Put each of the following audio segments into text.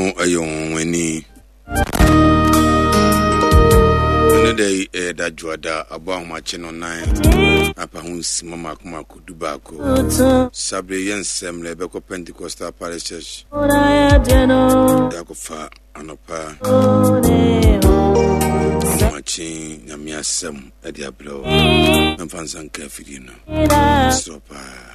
Nyankopɔn yɛ ɔnwanwani. Ɛne da yi ɛyɛ da dwoada abɔ ahomakye no nan apa ho nsima mako mako du baako. Sabre yɛ nsɛm na ɛbɛkɔ Pentecostal Parish Church. Yɛakɔfa anɔpa ahomakye nyame asɛm ɛde abrɛ wo. Mɛmfa nsa nka afidie no. Serɛ paa.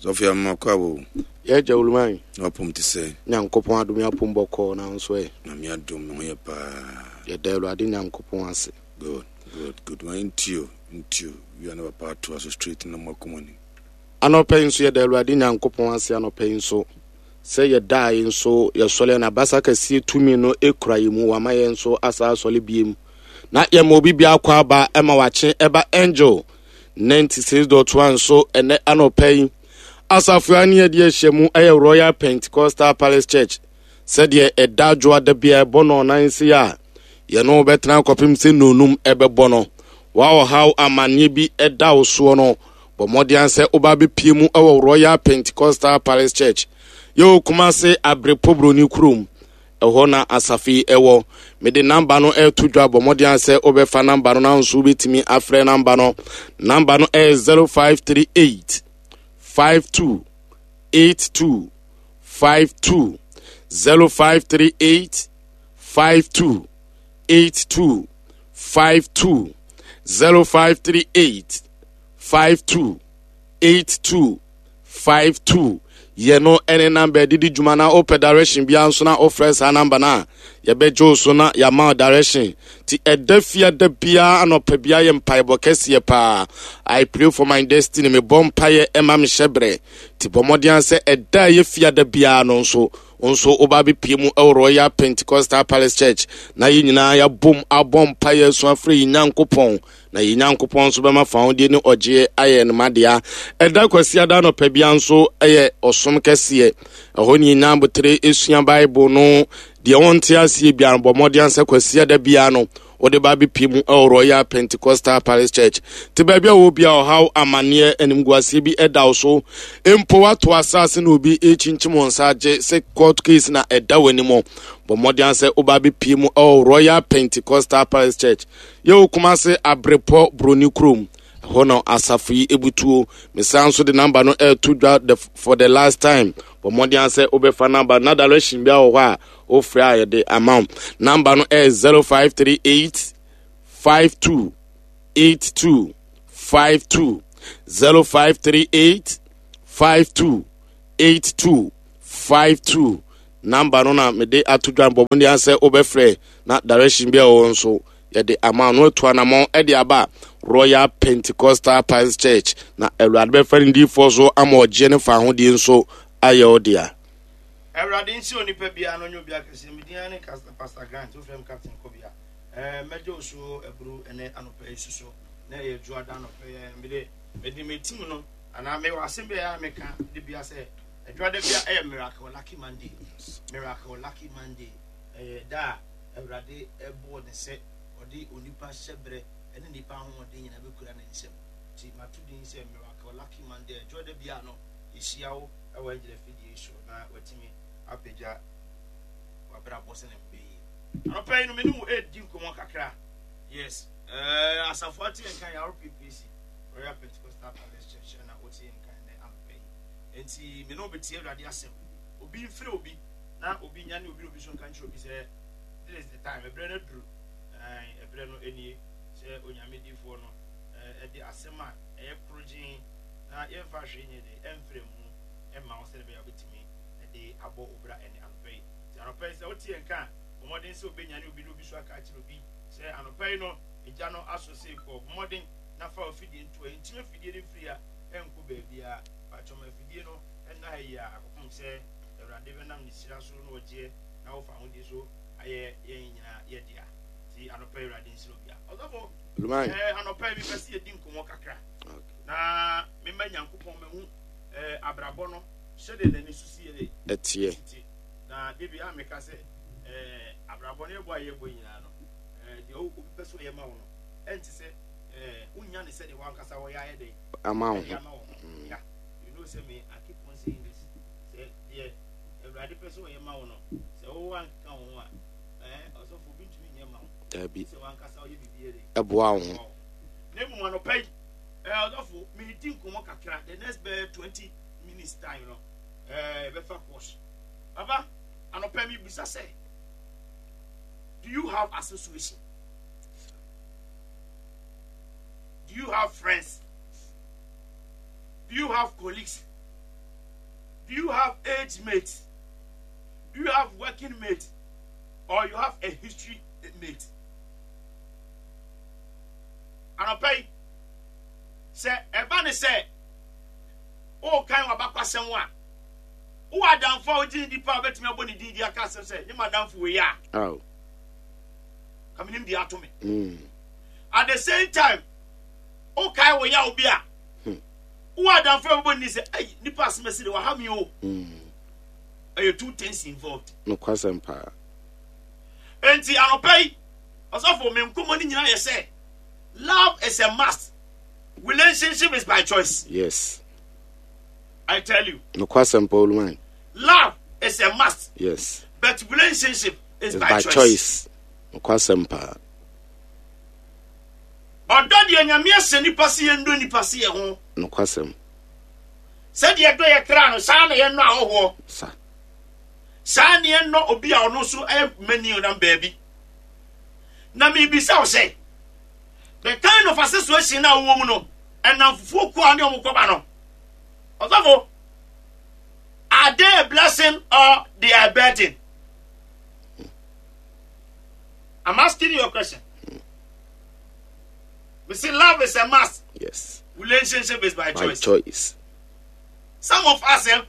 Sɔfo yɛ mma kɔ abo. Yɛ agya Oluman. Na wapom te sɛ. Nyankopɔn adom yɛ apom bɔkɔɔ na nso ɛ. Nyame adom me ho yɛ paa. Yɛda Awurade Nyankopɔn ase. Good good good ma ntio ntio wia na papa atoa so straight na mo akoma ni. Anɔpa yi nso yɛda Awurade Nyankopɔn ase anɔpa yi nso sɛ yɛdae nso yɛsɔre na basa kɛseɛ tumi no ekura yɛ mu wama yɛn nso asa asɔre biem na yɛma obi biako aba ɛma wakye ɛba angel 96.1 so ɛnɛ anɔpa yi asafo a ne yɛde ahyia mu ɛyɛ Royal Pentecostal Palace Church sɛdeɛ ɛda adwoa da bia ɛbɔ no ɔnan se a yɛne wo bɛtena kɔpem sɛ nnonum ɛbɛbɔ no wa ɔhaw amanneɛ bi ɛda wo soɔ no bɔ mmɔden sɛ woba bɛpie mu ɛwɔ Royal Pentecostal Palace Church yɛwɔ Kumase Abrepɔ Buroni kurom Ɛhɔ na asafo yi wɔ. Mede namba no reto dwa. Bɔ mmɔden ara sɛ wobɛfa namba no na nso wobɛtumi afrɛ namba no. Namba no yɛ 0538 52 82 52 0538 52 82 52 0538 52 82 52 yɛ no ne namba ɛde di dwuma na wopɛ direction biara nso na wofrɛ saa namba no a yɛbɛgye wo so na yɛama wo direction ti ɛda fia da biara anɔpa biara yɛ mpaebɔ kɛseɛ paa I pray for my destiny mebɔ mpaeɛ ɛma mehyɛ berɛ ti bɔ mmɔden sɛ ɛda a ɛyɛ fia da biara no nso nso woba bɛpie mu ɛwɔ Royal Pentecostal Palace Church na yɛn nyinaa yɛabom abɔ mpaeɛ asu afrɛ yɛn Nyankopɔn Na yɛn Nyankopɔn nso bɛma fawodeɛ ne ɔgyeɛ ayɛ no madea. Ɛda Kwasiada anɔpa bia nso yɛ ɔsom kɛseɛ. Ɛhɔ ne yɛnya abotere sua Bible no. Deɛ wɔnte aseɛ biara no, bɔ mmɔden sɛ Kwasiada biara no wode ba bɛpie mu ɛwɔ Royal Pentecostal Palace Church. Te baabi a wɔ bia ɔhaw, amanneɛ, animguaseɛ bi ɛda wo so. Mpo woato asase na obi rekyinkyim wɔn nsa agye sɛ court case na ɛda w'anim. Bɔ mmɔden sɛ woba bɛpie mu ɛwɔ Royal Pentecostal Palace Church. Yɛwɔ Kumase Abrepɔ Broni kurom. Ɛhɔ na asafo yi ebutuo. Mesan nso de namba no ɛreto dwa the, for the last time. Bɔ mmɔden sɛ wobɛfa namba na direction bi wɔ hɔ a wofrɛ a yɛde ama wo. Namba no ɛyɛ 0538 52 82 52 0538 52 82 52 Number no na mede ato dwa bɔ mmɔden sɛ wobɛfrɛ na direction bi a ɛwɔ nso yɛde ama no atu anamɔn de aba Royal Pentecostal Pines Church na Awurade bɛfa ne diifoɔ so ama ɔgyeɛ ne fa ahodie nso ayɛ wo dea. Awurade nhyira onipa biara na ɔnyɛ obi akɛseɛ. Me din ara ne Pastor Grant, wofrɛ me Captain Kobia. Eh, mɛgye wo so aburu ɛnɛ anɔpa yi soso na ɛyɛ dwoada anɔpa yi. Mede mede me team no anaa mewɔ asɛm bi a ɛyɛ a meka de bia sɛ Adwuma da bia ɛyɛ miracle lucky Monday. Miracle lucky Monday ɛyɛ da a Awurade ɛbɔɔ ne sɛ ɔde onipa hyɛbrɛ ɛne nipa ahoɔden nyinaa bɛkura ne nsam. Nti mato din sɛ miracle lucky Monday. Adwuma da bia no yɛhyia wo ɛwɔ Angel afidie so na watumi apagya wabrabɔ sɛ ne mbɛyie. Anɔpa yi no me ne wo ɛredi nkɔmmɔ kakra. Yes, uh, asafo ate yɛn kan yɛ RPPC, Royal Pentecostal Palace Church, ɛna wote yɛn kan nɛ anɔpa yi. Enti me ne wo bɛtie Awurade asɛm. Obi mfrɛ obi na obi nyane obi na obi nso nka nkyerɛ obi sɛ this is the time, ɛberɛ no aduru, ɛberɛ no nie sɛ Onyame difoɔ no ɛde asɛm a ɛyɛ korogyen na yɛmfa hwee nyɛ de ɛmfrɛ mu ɛma wo sɛdeɛ ɛbɛyɛ a wobɛtumi ɛde abɔ obra ɛne anɔpa yi. Nti anɔpa yi sɛ wote yɛn nka a, bɔ mmɔden sɛ wobɛnyane obi na obi nso aka akyerɛ obi sɛ anɔpa yi no egya no aso sei kɔ. Bɔ mmɔden na fa w'afidie nto ha. Nkyim afidie no mfiri ha ɛnkɔ baabiara. Pakyɛ ma afidie no nna ha yi ara kɔpem sɛ Awurade bɛnam ne hyira so na ɔgyeɛ na wo fahodie so ayɛ yɛn nyinaa yɛ dea. Nti anɔpa yi Awurade nhyira obia. Ɔsɔfo, eh, anɔpa yi mepɛ sɛ yɛdi nkɔmmɔ kakra na mema Nyankopɔn mahu eh, abrabɔ no sɛdeɛ n'ani so si yɛ dɛ ɛteɛ. Na de bi a meka sɛ eh, abrabɔ no yɛbɔ a yɛbɔ nyinaa no eh, deɛ obi pɛ sɛ ɔyɛ ma wo no ɛnte sɛ eh, wonya ne sɛdeɛ wankasa wɔyɛ ayɛ dɛ ama wo ho. Ama wo ho. Mm. Yeah. You know sɛ me I keep on saying this. Sɛ deɛ Awurade pɛ sɛ ɔyɛ ma wo no, sɛ Dabi. Ɛboa wo ho. Na mmom anɔpa yi, ɔdɔfo, meredi nkɔmmɔ kakra, the next bɛyɛ 20 minutes time no, yɛbɛfa course. Papa, anɔpa yi mebisa sɛ, do you have association? Do you have friends? Do you have colleagues? Do you have age mates? Do you have working mates? Or you have a history mate? Anɔpa yi, sɛ ɛba ne sɛ worekan w'abakwasɛm a, wowɔ adamfo a wogye ne di paa a wobɛtumi abɔ ne din di aka asɛm sɛ, nye m'adamfo wei a, ka menim deɛ ato me. Mm. At the same time, wokae wo yaw bi a, hmm. wowɔ adamfo a wobɛbɔ ne din sɛ, ei, nipa asɛm asi de waha me o. Mm. Ɛyɛ two things involved. Nokwasɛm paa. Enti anɔpa yi, ɔsɔfo, me nkɔmmɔ no nyinaa yɛ sɛ, love is a must, relationship is by choice. Yes. I tell you. Nokwasɛm paa Oluman. Love is a must. Yes. But relationship is by, by choice. choice. Nokwasɛm paa. Ɔdɔ deɛ Nyame ahyɛ nipa se yɛndɔ nipa se yɛ ho. Nokwasɛm. Sɛdeɛ ɛdɔ yɛ kra no, saa na yɛnnɔ ahɔhoɔ. Sa. Saa na yɛnnɔ obi a ɔno nso yɛ mani ɔnam baabi. Na mebisa wo sɛ, the kind of association na wowɔ mu no, ɛnam fufuo kuo a ne ɔmo kɔba no, ɔsɔfo, are they a blessing or they are a burden? I'm asking you a question. We see love is a must. Yes. Relationship is by, by choice. choice. Some of us, eh,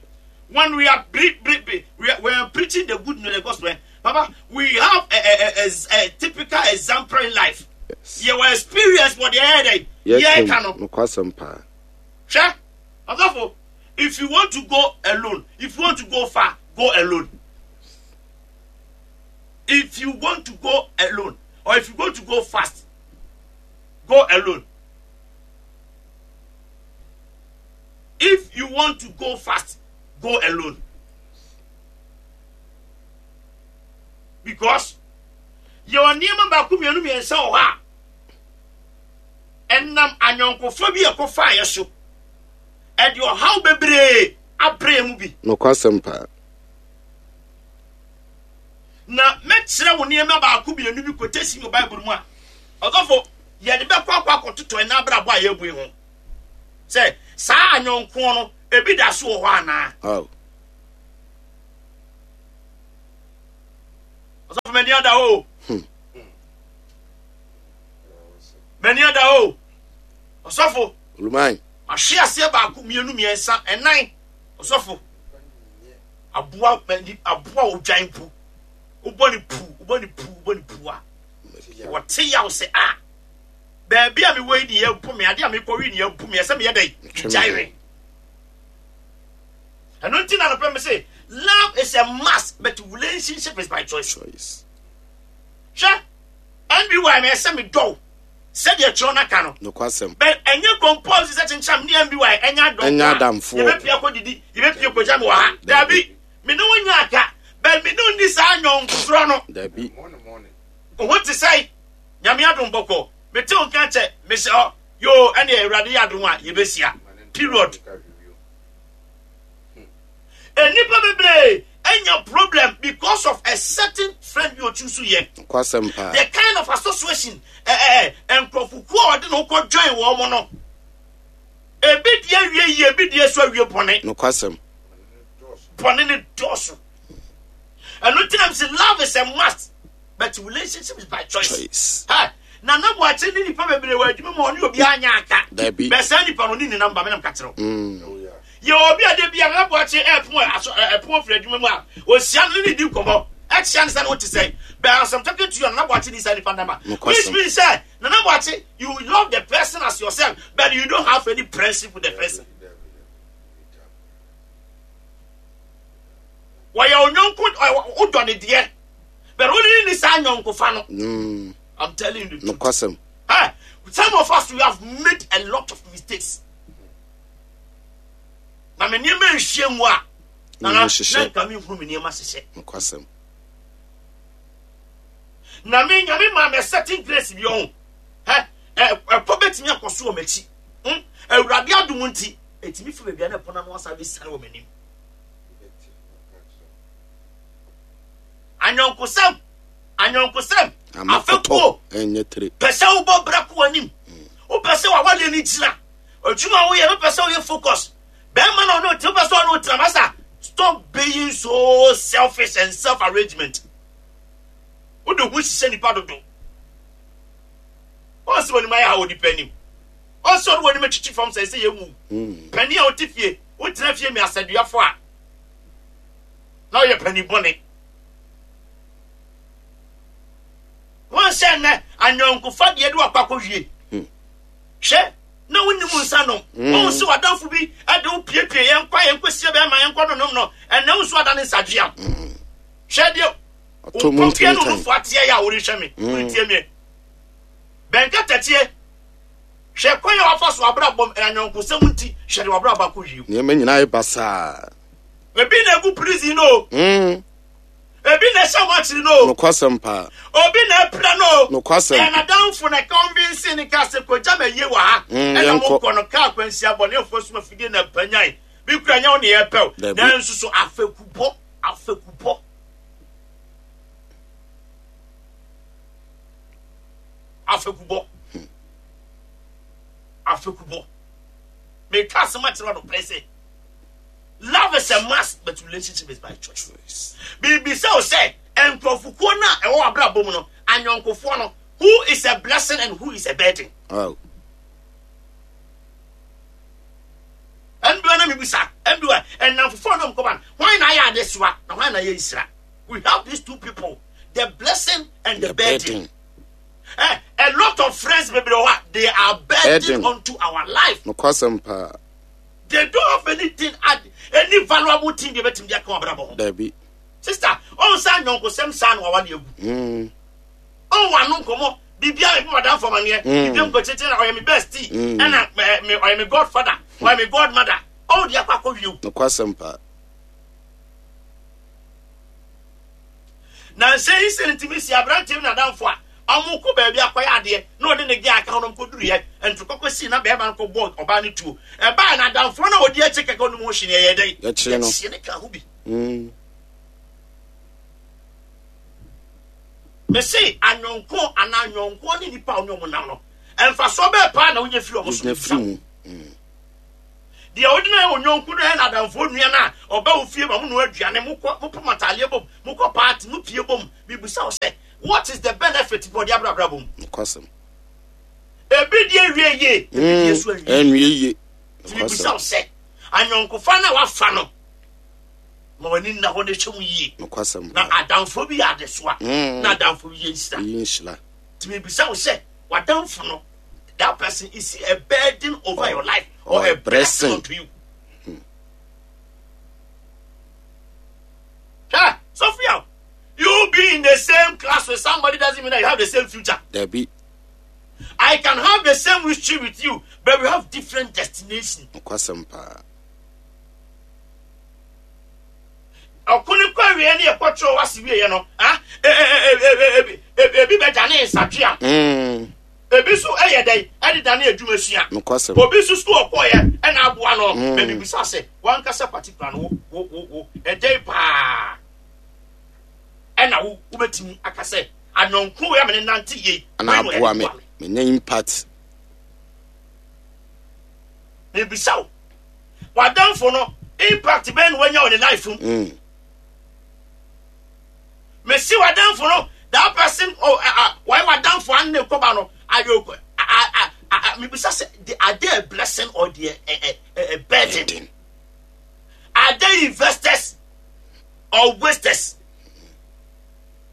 when we are pre- pre- pre- we are, we are preaching the good news, the gospel, eh, Papa, we have a, a, a, a, typical example in life. Yes. You experience what they had. Yes, Sure. If you want to go alone, if you want to go far, go alone. If you want to go alone, or if you want to go fast, go alone. If you want to go fast, go alone. Because yɛwɔ nneɛma baako mmienu mmiɛnsa wɔ hɔ a ɛnam anyɔnkofa bi a ɛkɔfaeɛ so ɛde ɔhaw bebree abrɛ mu bi. Nokwasɛm paa. Na mɛkyerɛ wo nneɛma baako mmienu bi quotation wɔ Bible mu a ɔsɔfo yɛde bɛkɔ akɔ akɔtotɔ ɛna abrabɔ a yɛabue ho sɛ saa anyɔnkoɔ no ebi da so wɔ hɔ anaa. Oh. Ɔsɔfo m'ani ada hɔ o. Hmm. M'ani ada hɔ o. Ɔsɔfo. Oluman. Mahwe aseɛ baako mmienu mmiɛnsa ɛnan ɔsɔfo. Aboa aboa odwan mpo. Wobɔ ne pu wobɔ ne pu wobɔ ne pu a. Wɔte yaw sɛ a baabi a mewɔ yi ne yɛbu me ade a mekɔwe ne yɛbu me ɛsɛ meyɛ dɛn gyae we. Ɛno nti na nopɛ me se love is a must but relationship is by choice. Choice. Hwɛ NBY na ɛsɛ me dɔw sɛdeɛ kyerɛ no aka no. Nokwasɛm. But ɛnyɛ compulsory sɛ kyenkyam ne NBY ɛnyɛ adɔm. Ɛnyɛ adamfoɔ. Yɛbɛpia kɔ didi, yɛbɛpia kɔgya me wɔ ha. Dabi, me ne wo nyɛ aka, but me ne wo nni saa nyɔnkosorɔ no. Dabi. Wo ho te sɛe, Nyame adom bɔkɔ, mete wo nka kyɛ, mehyɛ hɔ, yoo, ɛneɛ Awurade yɛ adom a, yɛbɛhyia. Period. Nnipa bebree anya problem because of a certain friend bi otu so yɛ. Kwasɛm paa. The kind of association ɛɛ nkurɔfokuo a ɔde ne ho kɔ join wɔn mo no. Ebi deɛ awie yie, ebi deɛ so awie bɔne. Nokwasɛm. Bɔne ne dɔɔso. Ɛno nti na sɛ love is a must but relationship is by choice. Choice. Hey, Nana Boakye ne nipa bebree wɔ adwuma mu a ɔne obiara nyɛ aka. Dabi. Bɛ saa nipa no ne ne namba menam ka kyerɛw. Mm. Yɛ obi a da bi a Nana Boakye ɛpon aso ɛpon firi adwuma mu a ohyia no ne ne di nkɔmɔ ɛkyia ne sɛ ne ho te sɛn. But as I'm talking to you Nana Boakye ni saa nipa namba. Nokwasɛm. Which means sɛ Nana Boakye you love the person as yourself but you don't have any friendship with the person. Wɔyɛ onyɔnko wodɔ ne deɛ but wo ne ne saa nyɔnkofa no. Mm. I'm telling you the truth. Nokwasɛm. Hey, some of us we have made a lot of mistakes. Na me nneɛma nhyia mu a, na na hyehyɛ. nka me nhunu me nneɛma hyehyɛ. Nokwasɛm. Na me Nyame maa me certain grace bi ɔho. Hɛ, ɛkɔ bɛtumi akɔ so wɔ m'akyi. Hmm? Awurade adom nti, ɛtumi fi baabi a na ɛpɔn ano asa bɛsiane wɔ m'anim. Anyɔnkosɛm, anyɔnkosɛm, afɛkuo, pɛ sɛ wobɔ bra kɔ w'anim. Wopɛ sɛ w'awadeɛ no gyina. Adwuma a woyɛ no, wopɛ sɛ woyɛ focus. Bɛrima na ɔne wote, wopɛ sɛ ɔne wotena. Masa, stop being so selfish and self-arrangement. Wode ho hyehyɛ nipa dodo. Wɔn sɛ wɔn ayɛ ha wɔ nipa anim. Wɔn sɛ ɔne wɔn anim atwitwi fam sɛ ɛsɛ yɛn mu. Hmm. Panin a wote fie, wotena fie mi asɛduafo a na ɔyɛ panin bɔne. Wɔn sɛ nnɛ anyɔnkofa deɛ de wakɔ akɔwie. Hmm. Hwɛ na wonim nsa nom. Hmm. Wɔn sɛ wadamfo bi de wo piepie yɛn kɔ yɛn kɔ sie bɛrima yɛn kɔ nonom no ɛnna wo nso ada ne nsadweam. Hwɛ deɛ Ɔtɔ mu Mpɔmpea no ntintan. nufu ateɛ yɛ a worehwɛ me, Mm. woretie me. Bɛnkatakyie, hwɛ kwan a wafa so abrabɔ mu, anyɔnkosɛm nti, hwɛ de wabrabɔ akɔ wiem. Nneɛma nyinaa yɛ basaa. Ebi na egu prison no o, Ebi na ɛhyɛ wɔn akyiri no o, Nokwasɛm paa. Obi na apira no o. Nokwasɛm. Ɛyɛ n'adamfo na convince ne kaa sɛ kogya ma yie wɔ ha. Ɛna yɛnkɔ. Mokɔ no kaa akwanhyia bɔnefoɔ soma fidie na panyan. Bi kura nyɛ wo ne yɛpɛw. Dabi. Nanso so afekubɔ, afekubɔ. Afekubɔ. Afekubɔ. Meka asɛm akyerɛ no pɛ sɛ love is a must but relationship is by choice. Biribi sɛ o sɛ nkurɔfokuo no a ɛwɔ abrabɔ mu no anyɔnkofoɔ no who is a blessing and who is a burden. Oh. Ɛndeɛ na mebisa, ɛndeɛ ɛnamfofoɔ no mkɔba no, hwan na ayɛ adesoa na hwan na ayɛ nhyira? We have these two people, the blessing and the, the burden. burden. Eh, a lot of friends bebree wɔ hɔ a, they are burden unto our life. Nokwasɛm paa. They don't have anything add, any valuable thing they betumi de aka wɔn abrabɔ ho. Dabi. Sister, ɔn sɛ anyɔnkosɛm saa na wawa de agu. Ɔn wano nkɔmɔ biribiara mi madam fam aneɛ biribiara mu kɔkyekye na ɔyɛ mi bestie ɛna ɛɛ mi ɔyɛ mi godfather ɔyɛ mi godmother ɔn de akɔ akɔ wie o. Nokwasɛm paa. Na nsɛ yi sɛ ntumi si aberanteɛ bi n'adamfo a ɔmo kɔ baabi akɔyɛ adeɛ na ɔne ne gɛ aka ho na ɔmo kɔ duru yɛ ntokɔkɔ sii na bɛrima no kɔ bɔ ɔbaa no tuo ɛbaa na adamfoɔ na ɔdi akyi kɛkɛ ɔnom ho hwee ɛyɛ dɛn yɛkyerɛ no yɛkyerɛ ne ka ho bi. Mese anyɔnko anaa anyɔnkoɔ ne nipa a ɔne ɔmo nam no mfasoɔ bɛɛ paa na wonya firi ɔmo so. Wonya firi mu. Deɛ wode no ayɛ wo yɔnko no yɛ n'adamfoɔ nua no a ɔba wo fie ma mo noa aduane, mokɔ mopam ataadeɛ bom, mokɔ party, mopie bom. Mebisa wo sɛ, what is the benefit bɔ ɔde abrɛ abrabɔ mu? Nokwasɛm. Ebi deɛ wie yie, ebi deɛ so anwie. Ɛnwie yie. Nti mebisa wo sɛ, anyɔnkofa no a wafa no, ma w'ani nna hɔ na hwɛ mu yie. Nokwasɛm. Na adamfoɔ bi yɛ adesoa, na adamfoɔ bi yɛ nhyira. Yɛ nhyira. Nti mebisa wo sɛ, w'adamfo no, that person is he a burden over your life or, or a blessing unto you? Yeah, Sophia, you be in the same class with somebody doesn't mean that you have the same future. Debbie. I can have the same history with you, but we have different destination. Nokwasɛm paa. Ɔko no kɔ awieɛ ne yɛkɔtwerɛ wase wieɛ no, ah, ebi bɛdane nsatweam. Ebi nso yɛ dɛn de dane adwuma sua. Nokwasɛm. Obi nso sukuu ɔkɔɔyɛ na aboa no. Mm. Mebisa sɛ, wankasa particular no wo wo wo wo ɛdɛn paa ɛna wo wobɛtumi aka sɛ anɔnko wei a mene nante yei Ana aboa me. Menya impact. Mebisa wo, w'adamfo no impact bɛn na wanya wɔ ne life mu? Mm. Mesi w'adamfo no, that person, oh, uh, uh, why w'adamfo an ne kɔba no, ayɛ mebisa sɛ, are they a blessing or they a, a, a burden? Burden. Are they investors or wasters?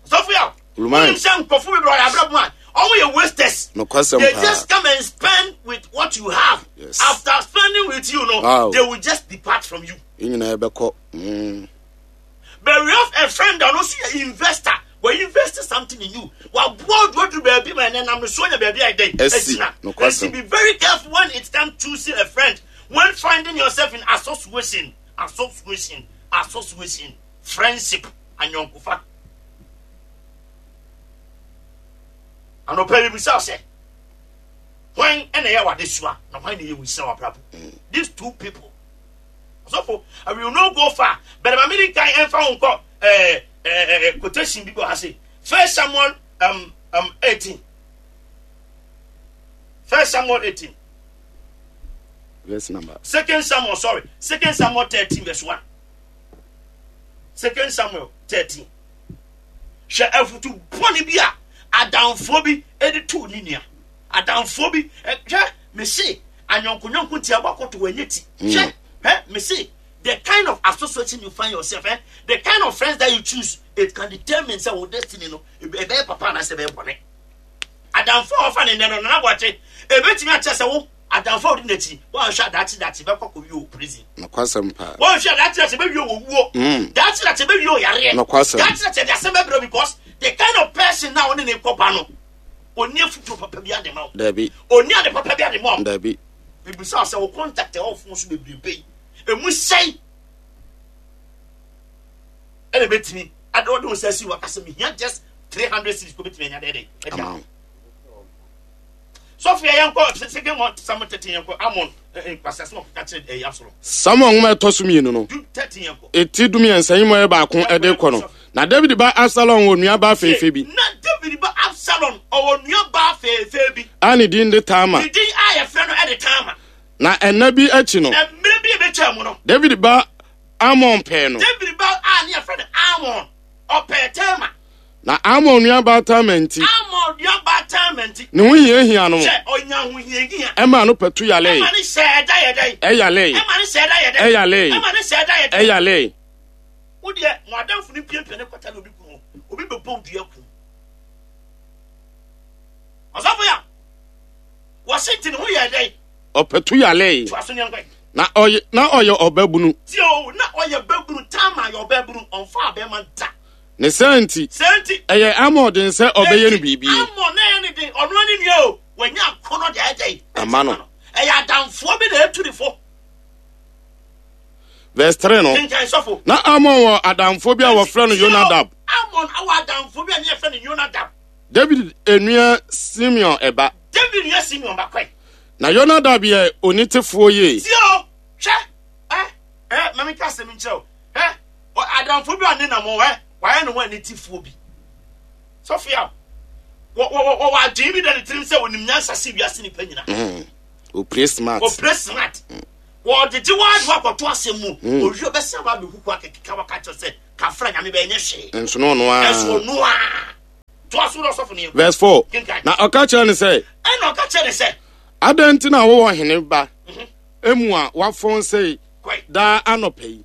Sophia, Luman. wonim sɛ nkurɔfo bebree ɔyɛ abrɛ mu a, ɔmo yɛ wasters. Nokwasɛm They paa. just come and spend with what you have. Yes. After spending with you, no, Wow. they will just depart from you. Yɛn nyinaa yɛbɛkɔ. But we have a friend that also yɛ investor. We invest something in you. Waboa oduodu baabi ma ɛnɛ nam no so nya baabi a ɛdɛn. Ɛsi. Ɛgyina. Nokwasɛm. Nti be very careful when it comes choosing a friend. When finding yourself in association, association, association, friendship, anyɔnkofa. Anɔpa yi mebisa wo sɛ, hwan na ɛyɛ w'adesoa na hwan na ɛyɛ wo nhyira w'abrabɔ? These two people. Ɔsɔfo, I will not go far, but ma mene nkan ɛmfa wo nkɔ eh, eh, eh, quotation bi bɔ ha se. First Samuel 18. First Samuel 18. Verse number. Second Samuel, sorry. Second Samuel 13 verse 1. Second Samuel 13. Hwɛ afutu bɔne bi a adamfoɔ bi de too ne nua. Adamfoɔ bi, hwɛ, mese, anyɔnkonyɔnko nti abɔ akɔto wɔnyɛ ti. Hmm. Hwɛ, hwɛ, mese, the kind of association you find yourself, eh, the kind of friends that you choose, it can determine sɛ wo destiny no, ɛbɛyɛ papa anaasɛ ɛbɛyɛ bɔne. Adamfo a wɔfa ne nnɛ no, Nana Boakye, ebetumi akyerɛ sɛ wo adamfo a wodi n'akyi, woanhwɛ a daakye daakye bɛkɔ akɔwie wɔ prison. Nokwasɛm paa. Woanhwɛ a daakye daakye bɛwie wɔ wuo. Mm. Daakye daakye bɛwie wɔ yareɛ. Nokwasɛm. Daakye daakye de asɛm bɛbrɛ because the kind of person na ɔne ne kɔba no, ɔnni afutuo papa bi ade ma wo. Dabi. Ɔnni ade papa bi ade ma wo. Dabi. Mebisa sɛ wo contact ɛwɔ fon so bebrebe yi, emu sɛn ɛna ebetumi ade ɔde wo nsa si waka sɛ mehia just 300 cedis kò betumi anya dɛdɛ ɛde ama sɔfo yɛ yɛnkɔ second one samuel 13 yɛnkɔ amon nkwasi asɛm ɔkeka kyerɛ ɛyɛ absalom. Samuel nwoma ɛtɔ so mmienu no eti 13 yi mu ɛyɛ baako ɛde kɔ no na David ba Absalom wɔ nua ba fɛɛfɛ bi. Na David ba Absalom ɔwɔ nua ba fɛɛfɛ bi. A ne din de Tamar. Ne din a yɛfrɛ no ɛde Tamar. Na ɛnna bi akyi no. Na mmerɛ bi a ebetwa mu no. David ba Amnon pɛɛ no. David ba a ne yɛfrɛ no Amnon ɔpɛɛ Tamar. Na Amnon nuabaa Tamar nti. Amnon nuabaa Tamar nti. Ne ho hiahia no. Sɛ ɔnya ahohiahia. Ɛmaa no patu yalee. Ɛma ne hyɛ ɛda yɛ dɛn. Ɛyalee. Ɛma ne hyɛ ɛda yɛ dɛn. Ɛyalee. Ɛma ne hyɛ ɛda yɛ dɛn. Ɛyalee. Wo deɛ mo adamfo no piapia ne kɔta na obi kun obi bɛbɔ dua kun. Ɔsɔfo ya wɔsi nti ne ho yɛ dɛn. Ɔpatu yalee. To aso nyɛ nkwan. Na ɔyɛ na ɔyɛ ɔbabunu. Tie o na ɔyɛ babunu Tamar yɛ ɔbabunu ɔnfa abɛɛma da. Ne saa nti, Saa nti, ɛyɛ Amon den sɛ ɔbɛyɛ no enti biribi. Amon na ɛyɛ ne den, ɔno ara ne nua o, wanya akɔnnɔ de ayɛ dɛn? Ama no. Ɛyɛ adamfoɔ bi na atu ne fo. Verse 3 no, Kenkan sɔfo. na Amon wɔ adamfoɔ bi a wɔfrɛ no Enti, tie o, Yonadab. Amon awɔ adamfoɔ bi a ne yɛfrɛ no Yonadab. David nua Simeon ba. David nua Simeon ba kɔe. Na Yonadab yɛ onitefoɔ yie. Tie o, hwɛ, ɛ, ɛ, ma menka asɛm nkyerɛ wo. Ɛ, adamfo bi a ne nam hɔ, ɛ, wayɛ ne ho anitefoɔ bi. Sɔfo yaw, wɔwɔ adwene bi da ne tirim sɛ onim nyansa se wiase nipa nyina. Opre smart. Opre smart. Wɔgyegye wɔn ade akɔto asɛm mu. Owie ɔbɛsan aba abɛhuku akekeka waka kyerɛ sɛ kafra nyame bɛyɛ nyɛ hwee. Nso no ɔno ara. Nso ɔno ara. Toa so na ɔsɔfo no yɛ. Verse 4. Kenkan. Na ɔka kyerɛ no sɛ. Ɛna ɔka kyerɛ ne sɛ. Adɛn nti na wowɔ ɔhene ba emu a wafɔn sei daa anɔpa yi?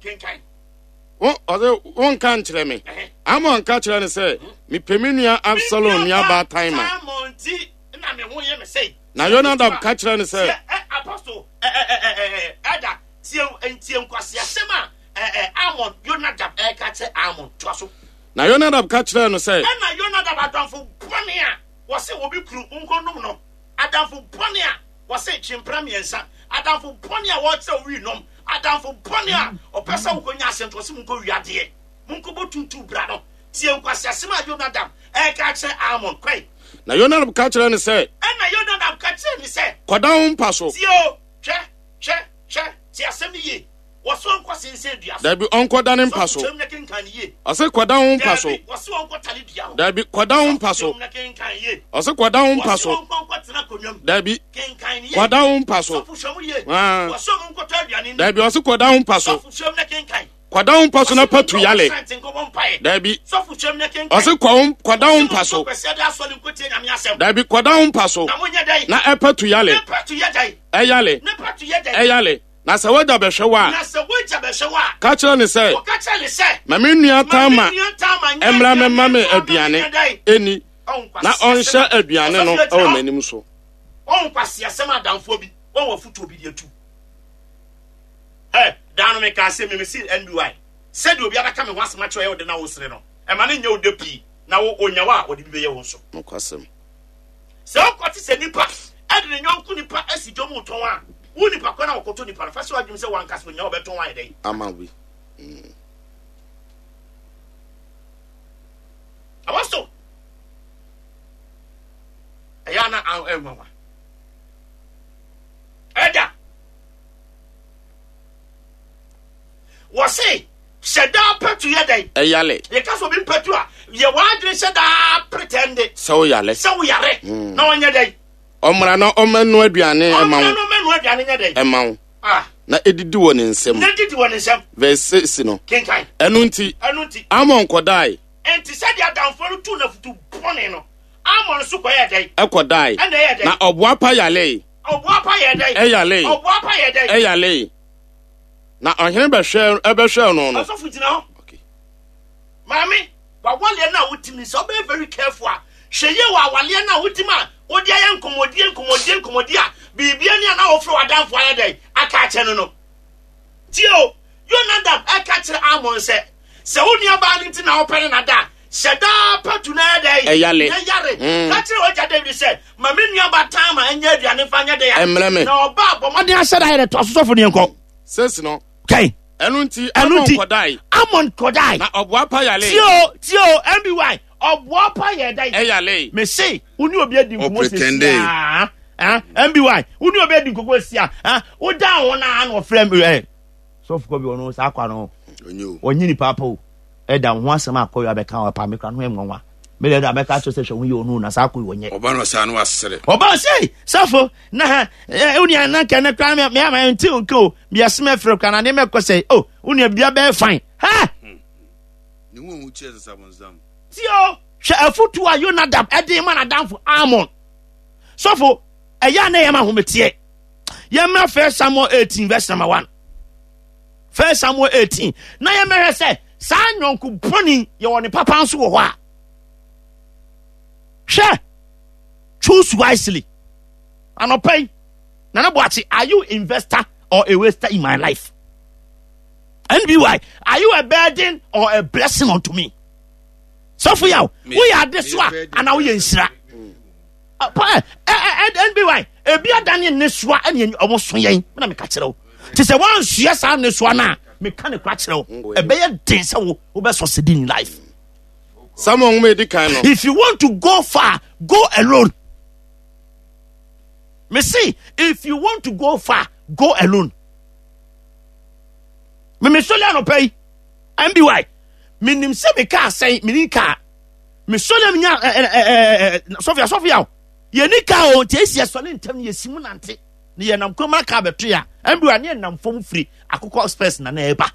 Wo, ɔse, wonka nkyerɛ me. Amon ka kyerɛ no sɛ, mepɛ me nua Absalom nuabaa Tamar. Na Yonadab ka kyerɛ no sɛ, Na Yonadab ka kyerɛɛ no sɛ. Ɛna Yonadab adamfo bɔne a wɔse obi kunu nkɔnom no, adamfo bɔne a Wɔse twe mpena miensa. Adamfo bɔne a wɔkyerɛ wo wii nom. Adamfo bɔne a ɔpɛ sɛ wokɔ nya asɛm nti ɔse monkɔ wia adeɛ. Monkɔ bɔ tuutuu bra no. Tie nkwaseasɛm a Yonadab reka akyerɛ Amon. Kɔe. Na Yonadab ka kyerɛɛ no sɛ. Ɛnna Yonadab ka kyerɛɛ no sɛ. Kɔda wo mpa so. Tie o, hwɛ, hwɛ, hwɛ, tie asɛm no yie. Wɔse ɔnkɔ sensɛn dua so. Dabi, ɔnkɔda ne mpa so. Sɔfo kyerɛm na kenkan no yie. Ɔse kɔda wo mpa so. Dabi, wɔse ɔnkɔ tale dua ho. Dabi, kɔda wo mpa so. Sɔfo kyerɛm na kenkan yie. Ɔse kɔda wo mpa so. Wɔse ɔnkɔ nkɔtena akonnwa mu. Dabi, Kenkan no yie. kɔda wo mpa so. Sɔfo hwɛ mu yie. Ah. Wɔse ɔmo nkɔtɔ aduane nni. Dabi, ɔse kɔda wo mpa so. Sɔfo hwɛ mu na kenkan. Kɔda wo mpa so na Wɔse patu monkɔ yale. restaurant nkɔbɔ mpaeɛ. Dabi, Sɔfo hwɛ mu na kenkan. ɔse kɔ wo kɔda wo Wɔse mpa so. monkɔ Kwasiada asɔre nkɔtie Nyame asɛm. Dabi, kɔda wo mpa so Na monyɛ dɛn? na ɛpatu yale. Ne patu yɛ dɛn? Ɛyale, Ne patu yɛ dɛn? ɛyale. Na sɛ w'agya bɛhwɛ wo a. Na sɛ w'agya bɛhwɛ wo a. Ka kyerɛ no sɛ. Kɔka kyerɛ no sɛ. Ma me nua Tamar Ma me nua Tamar nyɛ mmra aduane mmɛma me mfa mma me aduane nyɛ dɛn? nni, Ɔho na nkwaseasɛm ɔnhyɛ a aduane no ɔsɔfo agyina wɔ hɔ. m'anim so. Ɔho nkwaseasɛm a adamfoɔ bi wɔn afotuo bi de atu. Ɛ daa no mekaa sɛ me mese NBY sɛdeɛ obi abɛka me ho asɛm akyerɛ ɔyɛ wo de na wosere no ɛma no nyɛ wo dɛ pii na wo onya wo a ɔde bi bɛyɛ wo nso. Nokwasɛm. Sɛ wokɔte sɛ nipa de ne yɔnko nipa asi dwom retɔn a, wo nipa kɔ na wɔkɔtɔ nipa no, fa hyɛ w'adwene sɛ w'ankasa onya ɔbɛtɔn ayɛ dɛn? Ama bi. Apostle. Ɛyɛ ana ɛnwanwa. Ɛda. Wɔse hyɛ daa pɛtu yɛ dɛn? Ɛyale. Yɛka sɛ obi mpɛtu a, yɛ w'adwene hyɛ daa pretende. Sɛ woyale. Sɛ woyare. Hmm. Na ɔnyɛ dɛn? Ɔmmra na ɔmmɛnoa aduane ɛma wo. Ɔmmra na ɔmmɛnoa aduane nyɛ dɛn? Ɛma wo. Ah. Na edidi wɔ ne nsam. Na edidi wɔ ne nsam. Verse 6 no. Kenkan. Ɛno nti. Ɛno nti. Amon kɔdae. Enti sɛdeɛ adamfoɔ no tuu no afotu bɔne no, Amon nso kɔyɛɛ dɛn? Ɛkɔdae. Ɛna ɛyɛɛ dɛn? Na ɔboapa yaree. Ɔboapa yɛɛ dɛn? Ɛyaree. Ɔboapa yɛɛ dɛn? Ɛyaree. Na ɔhene bɛhwɛɛ ɛbɛhwɛɛ no no. Ɔsɔfo gyina hɔ. Okay. Maame, w'awaleɛ no a wotim no, sɛ wobɛyɛ very careful a, hwɛ yie wɔ awaleɛ no a wotim a wode ayɛ nkɔmmɔdie nkɔmmɔdie nkɔmmɔdie a biribia ni a na wofrɛ w'adamfo ayɛ dɛn aka akyɛ no no. Tie o, Yonadab ɛka kyerɛ Amon sɛ, sɛ wo nuabaa no nti na wopɛ ne nada a, hyɛ daa patu na ɛyɛ dɛn? Ɛyale. Na yare. Mm. Ka kyerɛ w'agya Dawid sɛ, ma me nuabaa Tamar nyɛ aduane mfa nyɛ dɛn a? Ɛmmerɛ me. Na ɔba a, bɔ mmɔden ahyɛ da yɛ dɛ, toa so sɔfo ne yɛnkɔ. Sɛsi no. Kai. Ɛno nti, Ɛno Amon nti, kɔdae. Amon kɔdae. Na ɔboapa yale. Tie o, tie o, MBY, ɔboapa yɛ dɛn? Ɛyale. Mese, wo ne obi adi nkɔmmɔ Ɔpretende. sɛsi a, ah, MBY, wo ne obi adi nkɔmmɔ sɛsi a, ah, woda ho na na ɔfrɛ me, eh, sɔfo kɔ bi ɔno saa kwa no, Ɔnyɛ o. ɔnye nipa apa o, ɛda wo ho asɛm akɔ yɛ abɛka wɔ pa me kora no ho ɛnwanwa. Me deɛ ɛda mɛka kyerɛ sɛ hwɛ ho yɛ ɔno na saa akɔ yɛ ɔnyɛ. Ɔba no ɔsaa no wasere. Ɔba sɛ sɔfo na ha ɛ wo nua na nka ne kora me ama nti nka o me asem afrɛ kora na ne mɛkɔ sɛ o wo nua bia bɛyɛ fine ha. Ne ho ohu kyerɛ sɛ sabonsam. Ti o hwɛ afutu a Yonadab ɛde ma n'adamfo Amon. Sɔfo ɛyɛ a na ɛyɛ ma ahometeɛ. Yɛmmra First Samuel 18 verse number 1. First Samuel 18 na yɛmmɛhwɛ sɛ saa nyɔnko bɔne yɛwɔ ne papa nso wɔ hɔ a. Hwɛ, choose wisely. Anɔpa yi, Nana Boakye, are you investor or a waster in my life? NBY, are you a burden or a blessing unto me? Sɔfo yaw, woyɛ adesoa anaa woyɛ nhyira? NBY, ebi adane nnesoa ɛne ɔmo so yɛn, na meka kyerɛ wo. Te sɛ woansoa saa nnesoa no a, meka ne kora kyerɛ wo, ɛbɛyɛ den sɛ wo wobɛ succeed in life. Samuel nwoma edi kan no. If you want to go far, go alone. Me see, if you want to go far, go alone. Me me sɔle anɔpa yi, MBY, me nim sɛ me kaa sɛn, me ni kaa. Me sɔle me nya ɛ ɛ ɛ ɛ sɔfia sɔfia o. Yɛ ni kaa o, nti esi ɛsɔle ntɛm yɛ si mu nante. Ne yɛ nam kurom aka abɛto ya. MBY ne yɛ nam fam firi akokɔ spurs na na ɛba.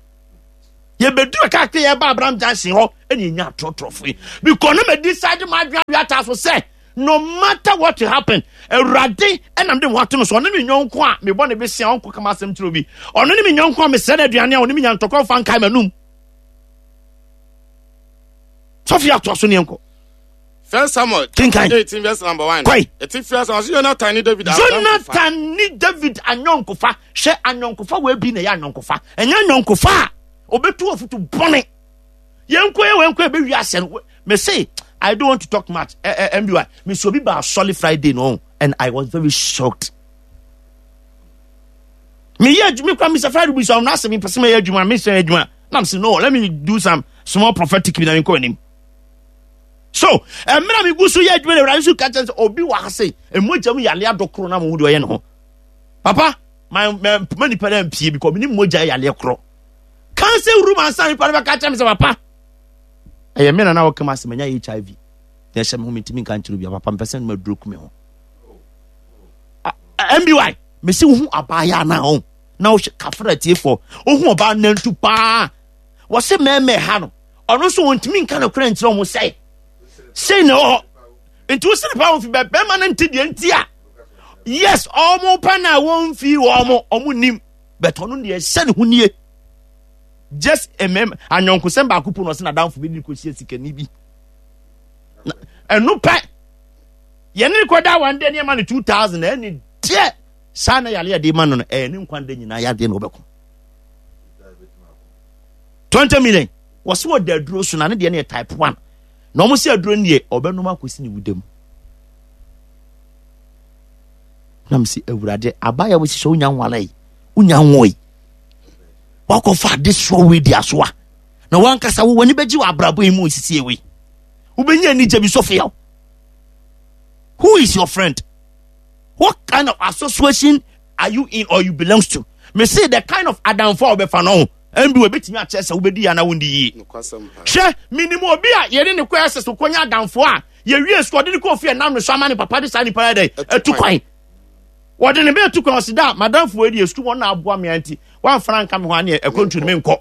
Yɛbɛduru kakra yɛba Abraham Junction hɔ ɛna yɛnya atorɔtorɔfo yi. Because na ma decide ma adwene awe ataa so sɛ no matter what will happen, Awurade ɛna mede me ho ato no so. Ɔno ne me nyɔnko a mebɔ ne besia ɔnkɔ kama asɛm kyerɛ obi. Ɔno ne me nyɔnko a mesrɛ no aduane a ɔne me nya ntɔkwa mfa nkae m'anum. Sɔfo yɛ atoa so ne yɛnkɔ. First Samuel Kenkan. 18 verse number 1. Kɔe. Ɛte fi asɛm ɔse Jonathan ne David adamfofa. Jonathan ne David anyɔnkofa. Hwɛ anyɔnkofa wɔ ebi na ɛyɛ anyɔnkofa. Ɛnyɛ anyɔnkofa a obetu afutu bɔne. Yɛnkɔ yɛ wɔnkɔ ebe wi asɛ no. Me say I don't want to talk much. Eh, eh, MBY. Me so obi ba asɔle Friday no and I was very shocked. Me yɛ adwuma kura Mr. Friday bi so na asɛ me pɛsɛ me yɛ adwuma me sɛ adwuma. Na me say no, let me do some small prophetic bi na me nkɔ anim. So mmerɛ a megu so yɛ adwuma no awurade so ka kyerɛ sɛ obi wɔ ha sei mmogya mu yale adɔ koro na mo ho deɛ ɔyɛ ne ho papa ma ma ma nipa no ampie bi kɔ me ne mogya yaleɛ korɔ cancer room ansa nipa no bɛka kyerɛ me sɛ papa ɛyɛ me na na wɔka ma sɛ manya hiv na ɛhyɛ me ho mentumi nka nkyerɛ obi papa mpɛ sɛ no maduro ku me ho mby mesi wohu abaayɛ anaa ho na wohyɛ kafra atiefoɔ wohu ɔbaa nantu paa wɔse mɛmɛ ha no ɔno nso wɔntumi nka nokorɛ nkyerɛ wɔn sɛ sei na ɛwɔ hɔ nti wo sene paa wɔn fi bɛ bɛrima no nte deɛ nti a yes wɔn pɛ na wɔn fi wɔn wɔn nim bɛtɔ ɔno deɛ ɛhyɛ ne ho nie just mmɛm anyɔnkosɛm baako po na ɔsɛ n'adamfo bi ne kɔhyia sikani bi ɛno pɛ yɛne ne kɔda wɔn de nneɛma no 2000 ɛne deɛ saa na yare yɛde ma no no ɛyɛ ne nkwa da nyinaa yadeɛ na ɔbɛko 20 million wɔsi wɔ da aduro so na ne deɛ no yɛ type 1 na wɔn si aduro no deɛ ɔbɛnom akɔsi ne wuda mu na mo si awurade abaya wo sisɛ wonya nwale yi wonya nwo yi wakɔfa adesoa wei di asoa na wankasa wo w'ani bɛgye wɔ abrabɔ yi mu osisie wei wobɛnya anigye bi sɔfo yaw. Who is your friend? What kind of association are you in or you belongs to? Me say the kind of adamfo a wɔbɛfa no ho ɛnbi wɔ ebetumi akyerɛ sɛ wobɛdi yie anaa wondi yie. Hwɛ minim obi a yɛne ne kɔ ɛsɛ so kɔnya adamfo a yɛwie sukuu ɔde ne kɔ ofie nam ne so ama ne papa de saa nipa yɛ dɛ ɛtu kwan. Wɔde ne bɛɛ tu kwan ɔsi da madamfo wɔ deɛ sukuu wɔn na aboa me nti wɔamfana nka me ho aneɛ ɛkɔntu ne me nkɔ.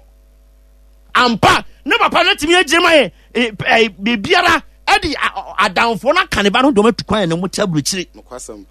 Ampa ne papa no atumi agyina ma yɛ biribiara ɛde adamfoɔ no aka ne ba no dɔm atu kwan ne mo te aburokyire.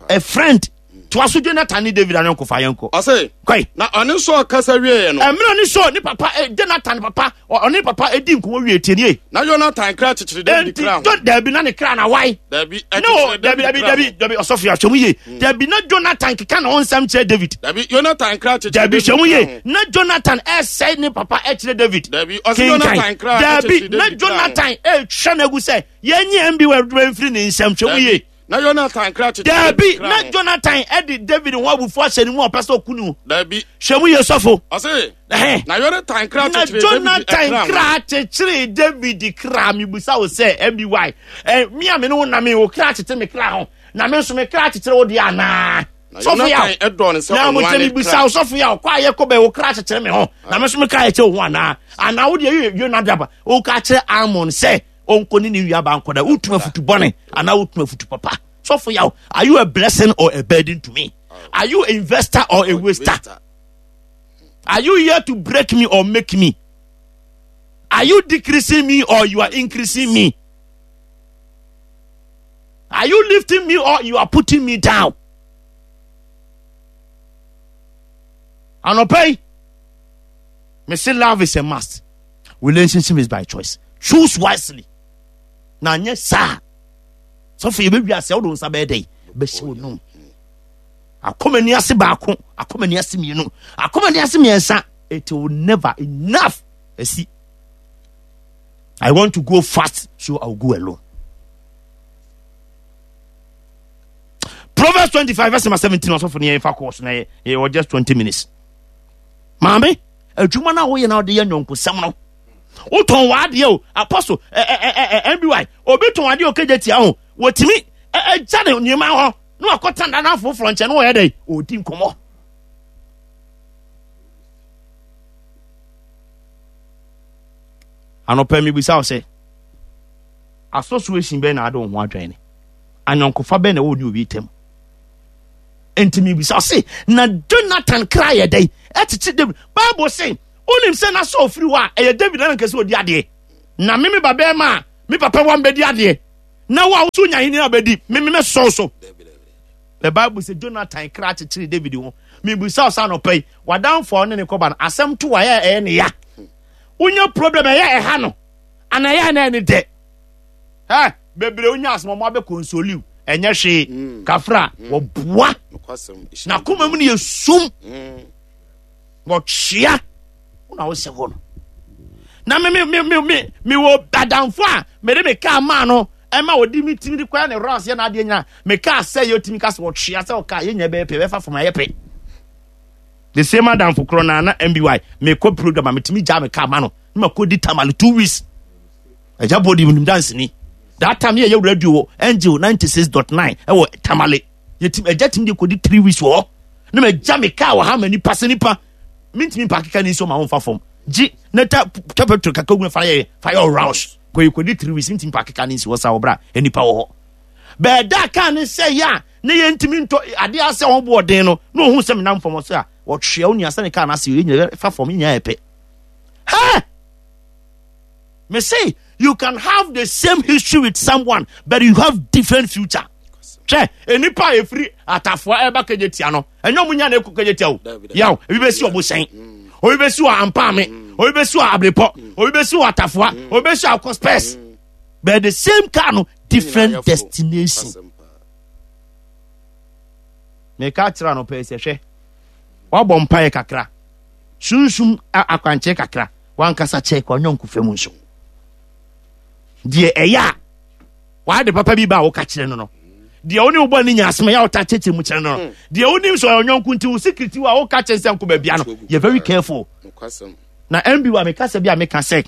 A friend toa so Jonathan ne David ayɔnkofa yɛnkɔ. Ɔse kɔe. Na ɔne Saul kasa wieɛ no. Mmerɛ ne Saul ne papa eh, Jonathan papa ɔne papa edi nkɔmɔ wie tie nie. Na Jonathan kra kyekyere David kra ho. Enti dabi na ne kra na wae. Dabi ɛkyekyere David kra ho. Dabi dabi dabi ɔsɔfo yɛ ahwɛ mu yie. Hmm. Dabi na Jonathan keka ne ho nsɛm kyerɛ David. Dabi Jonathan kra kyekyere Dabi hwɛ mu yie na Jonathan ɛsɛe ne papa ɛkyerɛ David. Dabi ɔsɛ Jonathan kra kyekyere Dabi na Jonathan ɛtwa n'agu sɛ yɛnyi ɛnbi wɔ adwuma mfiri ne nsɛm hwɛ mu yie. Na Yonatan kra kyekyere Dabi, David kra na ho. Jonathan de David ho abufuo ahyɛ ne mu a ɔpɛ sɛ ɔku no. Dabi. Hwɛ mu yie sɔfo. Ɔse, Ɛhɛn. na Yonatan kra Na kyekyere David Jonathan kra ho. kra kyekyere David kra. Mebisa wo sɛ, MBY, eh, me a me ne wo nam yi, wo kra kyekyere me kra ho, na me nso me kra kyekyere wo deɛ anaa? Na Sɔfo yaw. Yonatan dɔɔ no sɛ Na ɔno mo ara nkyɛn ne mebisa kra. wo sɔfo yaw, kɔ a yɛkɔ bɛn, wo kra kyekyere me ho, na me nso me kra kyekyere wo ho anaa? Anaa wo deɛ yɛ Yonadab, woka kyerɛ Amnon sɛ, ɔnkɔ ne ne nuabaa nkɔda. Wotu afutu bɔne anaa wotu afutu papa? Sɔfo yaw, are you a blessing or a burden to me? Are you investor or a waster? Are you here to break me or make me? Are you decreasing me or you are increasing me? Are you lifting me or you are putting me down? Anɔpa yi, me say love is a must. Relationship is by choice. Choose wisely. Na anyɛ saa. Sɔfo yɛbɛwi ase wode wo nsa bɛyɛ dɛn? Bɛhyɛ wo nom. Akɔmani ase baako, akɔmani ase mmienu, akɔmani ase mmiɛnsa. It will never enough. Asi. I want to go fast, so I will go alone. Proverbs 25 verse number 17 ɔsɔfo ne yɛmfa kɔɔ so na yɛwɔ just 20 minutes. Maame, adwuma no a woyɛ na wode yɛ nyɔnkosɛm no wotɔn w'adeɛ o apostle nby obi tɔn adeɛ o kegye tia ho wɔtumi agya ne nneɛma hɔ na wakɔtena dana foforɔ nkyɛn na wɔyɛ dɛ ɔdi nkɔmmɔ anɔpɛ mebisa wo sɛ association bɛn na ade wo ho adwene ne anyɔnkofa bɛn na ɛwɔ ne obi tam Enti mebisa se, na Jonathan kra yɛ dɛn? Ɛkyekye David. Bible se, wonim sɛ na Saul firi hɔ a, ɛyɛ David na anka sɛ ɔdi adeɛ. Na me me ba bɛrima a me papa wa mbɛdi adeɛ. Na wo a woso nya ahenni a bɛdi, me me mɛsɔw so. The Bible sɛ Jonathan kra kyekyere David ho. Mebisa wo sɛ anɔpa yi, w'adamfo a ɔne ne kɔba no, asɛm to a ɛyɛ ɛyɛ ne ya. Wonya problem ɛyɛ ɛha no, anaa ɛyɛ na ɛne dɛ. Ɛ bebree wonya asɛm ɔmo abɛ konsoliw ɛnyɛ hwee mm. kafra mm. wɔboa na koma mu no yɛ sum mm. wɔtwea wo na wosɛ hɔ no na me me me me me me wɔ adamfo a mede me kaa maa no ɛma wɔde me timi de kɔɛ ne rounds yɛ n'adeɛ nyinaa me kaa sɛ yɛ otimi ka sɛ wɔtwea sɛ ɔkaa yɛ nyɛ bɛyɛ pɛ bɛfa fam ayɛ pɛ the same adamfo korɔ na na mby mekɔ program a metumi gya me kaa ma no na makɔdi tamale 2 weeks. Agya Body nim danseni. That time yɛ yɛ radio wɔ Angel 96.9 ɛwɔ Tamale. Yɛtim agya tim de kɔdi 3 weeks wɔ hɔ. Na ma gya me kaa wɔ ha ma nipa sɛ nipa. Mintimi mpa keka ne nsuo ma wɔmfa fam. Gye na ta twa petrol kakra gu na fa yɛ fa yɛ rounds. Kɔ yɛ kɔdi 3 weeks mintimi mpa keka ne nsuo sa wɔ bra nipa wɔ hɔ. Bɛɛda kaa ne sɛ yɛ a ne yɛntumi ntɔ adeɛ asɛ wɔn bo ɔden no na ohun sɛ menam fam ɔsɛ a wɔtwea wo nua sɛ ne kaa no ase yɛ nyina fa fam nyinaa yɛ pɛ. Hɛ! Me say you can have the same history with someone but you have different future. Hwɛ nnipa a efiri atafoa ɛba kegye tia no ɛnyɛ ɔmo nya na ekɔ kegye tia o yaw ebi bɛ si ɔmo sɛn mm. obi bɛ si wɔ ampaame mm. obi bɛ si wɔ abrepɔ mm. obi bɛ si wɔ atafoa obi bɛ si wɔ akɔ spɛs but the same car no different destination. Meka kyerɛ ano pɛɛ sɛ hwɛ wabɔ mpaeɛ kakra sunsum akwankyerɛ kakra wankasa kyɛ w'anyɔnko fam nso deɛ ɛyɛ a w'ade papa bi ba a woka kyerɛ no no deɛ wo ne wo bɔ ne nya asɛm ɛyɛ a wota kyerɛkyerɛ mu kyerɛ no no hmm. deɛ wonim sɛ ɔyɛ ɔnyɔnko nti wo secret wo a woka kyerɛ sɛ nkɔ baabia no yɛ very careful na mb wa meka sɛ bi a meka sɛ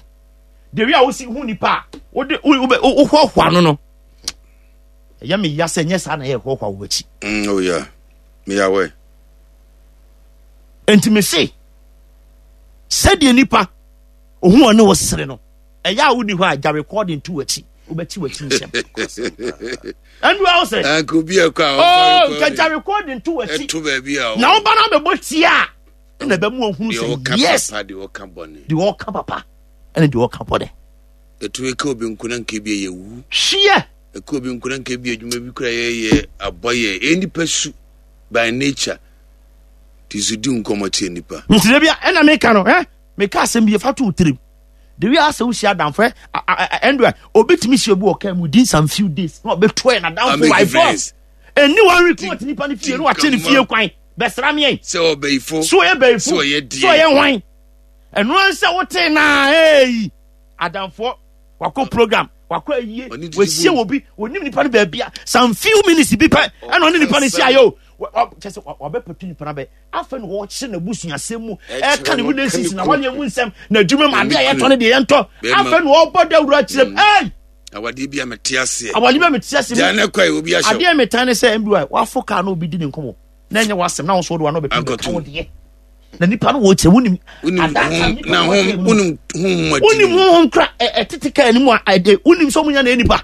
deɛ wi a wosi hu nipa a wode wohoahoa no no. Ɛyɛ me ya sɛ nyɛ saa na ɛyɛ hoahoa wɔ akyi. Oh yeah. Me ya wɛ. Enti me se sɛdeɛ nipa ohun ɔne wo sere no ɛyɛ a wonni hɔ a gya recording to w'akyi wobɛkyi w'akyi nsɛm. Ɛnu a wosɛ. Anka obi ɛkɔ a ɔkɔ recording. Oh, gya recording to w'akyi. Ɛto baabi a. Na woba no abɛbɔ tie a ɛna ɛbɛmu ohun sɛ yes. Deɛ ɔka bɔne. Deɛ ɔka papa ɛne deɛ ɔka bɔne. Ɛtumi ka obi nko na nka ebi yɛ wu. Hweɛ. Ɛka obi nko na nka ebi adwuma bi kura yɛyɛ abɔ yɛ. Ɛyɛ nipa su by nature. Ti so di nkɔmɔ kyerɛ nipa. Nti da bi a ɛna meka no ɛ meka asɛm bi fa to wo tirim. The way asɛ wohyia adamfo ɛ ɛndo a obi tumi hyia obi wɔ kaa mu within some few days na ɔbɛto ɛ n'adamfo by force. Ɛni wɔn report nipa no fie na wakyɛ ne fie kwan bɛsra meɛn. Sɛ ɔbɛyifo. So ɔyɛ bɛyifo. So ɔyɛ deɛ. So ɔyɛ hwan. Ɛno ansɛ wote naa ee adamfoɔ wakɔ program wakɔ ayie wahyia wɔ bi wɔnim nipa no baabi a some few minutes bi pɛ ɛna ɔne nipa no hyia yɛ o kyɛ sɛ wabɛpɛtu nipa no abɛ afei na wɔkyerɛ n'abusuasɛm mu ɛka ne relations na wɔne mu nsɛm na adwuma mu adeɛ a yɛtɔ no deɛ yɛntɔ afei na ɔbɔ dawuro akyerɛ mu ɛy awadeɛ bi a mete aseɛ awadeɛ bi a mete aseɛ gya ne kɔ obi ahyɛ adeɛ metan ne sɛ mbi wafo kaa na obi di ne nkɔmmɔ na ɛnyɛ w'asɛm na wo nso wode w'ano bɛpem bɛka wo deɛ na nipa no wɔ kyerɛ wonim wonim wonim honhom kora ɛtete kaa anim a ɛde wonim sɛ ɔmo nya na nipa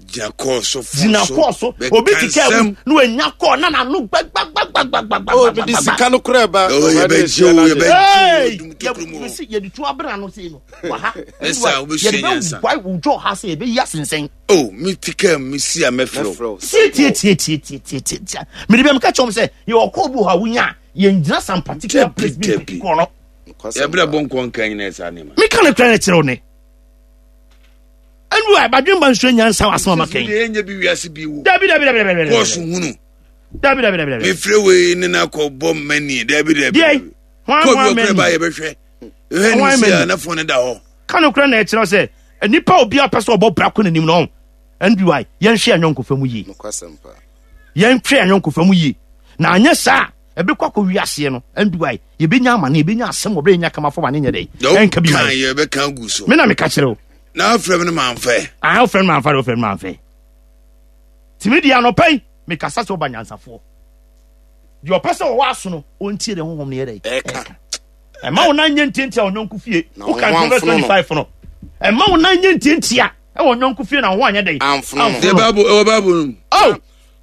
gyina kɔɔ so gyina kɔɔ so obi te kaa mu na wanya kɔɔ na n'ano gbagbagbagbagbagbagba obi de sika no kora ba yɛde tu abena no sei no wɔ ha yɛde bɛ wae wo dwɔ ha sɛ yɛbɛyi asensɛn Oh, me ti kaa mu si a mɛfrɛ wo. Tie tie tie tie tie tie tie tie. Mede bɛ meka kyerɛ wɔn sɛ yɛwɔ kɔɔ bi wɔ hɔ a wonya a yɛngyina some particular place bi mpeke kɔɔ no. Yɛbrɛ bɔ nkɔ nka nyina saa nneɛma. Meka no kora no kyerɛ wo ne. Ɛnu a badwemba nsuo nyansa wɔ asɛm a maka yi. Ɛnyɛ bi wiase bi wo. Dabi dabi dabi dabi. Kɔɔso hunu. Dabi dabi dabi dabi. Mefrɛ wei ne na akɔ bɔ mani dabi dabi. Deɛ hwan hwan mani. Kɔɔ bi ɔkura ba yɛbɛhwɛ. Ɛhwɛ ne si a na fɔn ne da hɔ. Ka nokorɛ na ɛkyerɛ sɛ nipa obi a ɔpɛ sɛ ɔbɔ bra kɔ n'anim no NBY yɛnhwɛ yɛn ayɔnkofa mu yie. Yɛnhwɛ yɛn ayɔnkofa mu yie na anyɛ saa ɛbɛkɔ akɔ wiaseɛ no NBY yɛbɛnya amane yɛbɛnya asɛm wɔ berɛ yɛnya kama fam ane nyɛ dɛ ɛnka bi ma yɛbɛka gu so me na meka kyerɛ wo na afrɛ me no mamfɛ ah wofrɛ no mamfa de wofrɛ no mamfɛ tumi deɛ anɔpa yi mekasa sɛ woba nyansafoɔ deɛ ɔpɛ sɛ ɔwɔ aso no ɔntie deɛ honhom no yɛ dɛ ɛka ɛma wo nan nyɛ ntiantia wɔ nyɔnko fie woka Proverbs 25 no ɛma wo nan nyɛ ntiantia ɛwɔ nyɔnko fie na wo ho anyɛ dɛn amfono no ɛwɔ bible no oh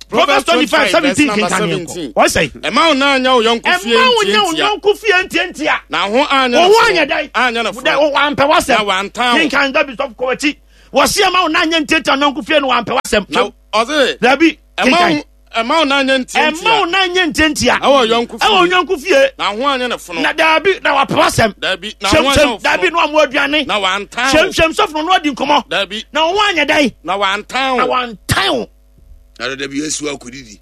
Proverbs 25 17 kenkan yɛn kɔ wɔn sɛ ɛma wo nan nyɛ wo yɔnko fie ɛma wo nyɛ wo yɔnko fie ntiantia na ho anyɛ wo ho anyɛ dɛn anyɛ no fo wampɛ wasɛm na wantan wo kenkan dabi sɔfo kɔ akyi wɔsi ɛma wo nan nyɛ ntiantia nyɔnko fie no wampɛ wasɛm na ɔse dabi kenkan ɛma wo nan nyɛ ntiantia. Ɛma wo nan nyɛ ntiantia. Ɛwɔ yɔnko fie. Ɛwɔ yɔnko fie. Na ho anyɛ ne fono. Na daabi na wapɛ asɛm. Daabi na ho anyɛ fono. Daabi na wɔn aduane. Na wantan wo. Hyɛmhyɛm sɔfo no adi nkɔmɔ. Daabi. Na ho anyɛ dɛn. Na wantan wo. Na wantan wo. Na dada bi esu akɔdidi.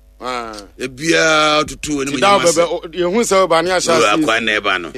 Ebiara tutu wɔ ne mu nyama sɛ. Yehu sɛ ɔba ne ahyɛ ase. Akwan na ɛba no.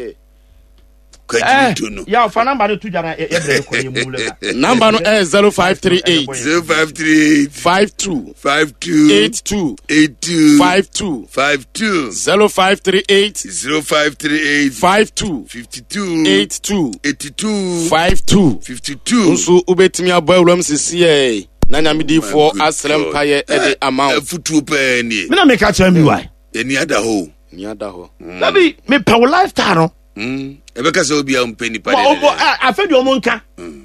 kwagye no. Ya fa namba no to dwa na yɛbrɛ kɔ yɛ mu lɛ. Namba no ɛyɛ 0538 0538 52 52 82 82 52 52 0538 0538 52 52 82 82 52 52 nso wobɛtumi abɔ awuram sisi ɛ na nyamedifoɔ asrɛ mpayɛ ɛde ama wo afutuo pɛɛ nie me na meka kyerɛ mi wae ɛni ada hɔ ni ada hɔ dabi mepɛ wo lifestyle no ɛbɛka sɛ obia mpɛ nipa afei deɛ ɔmo nka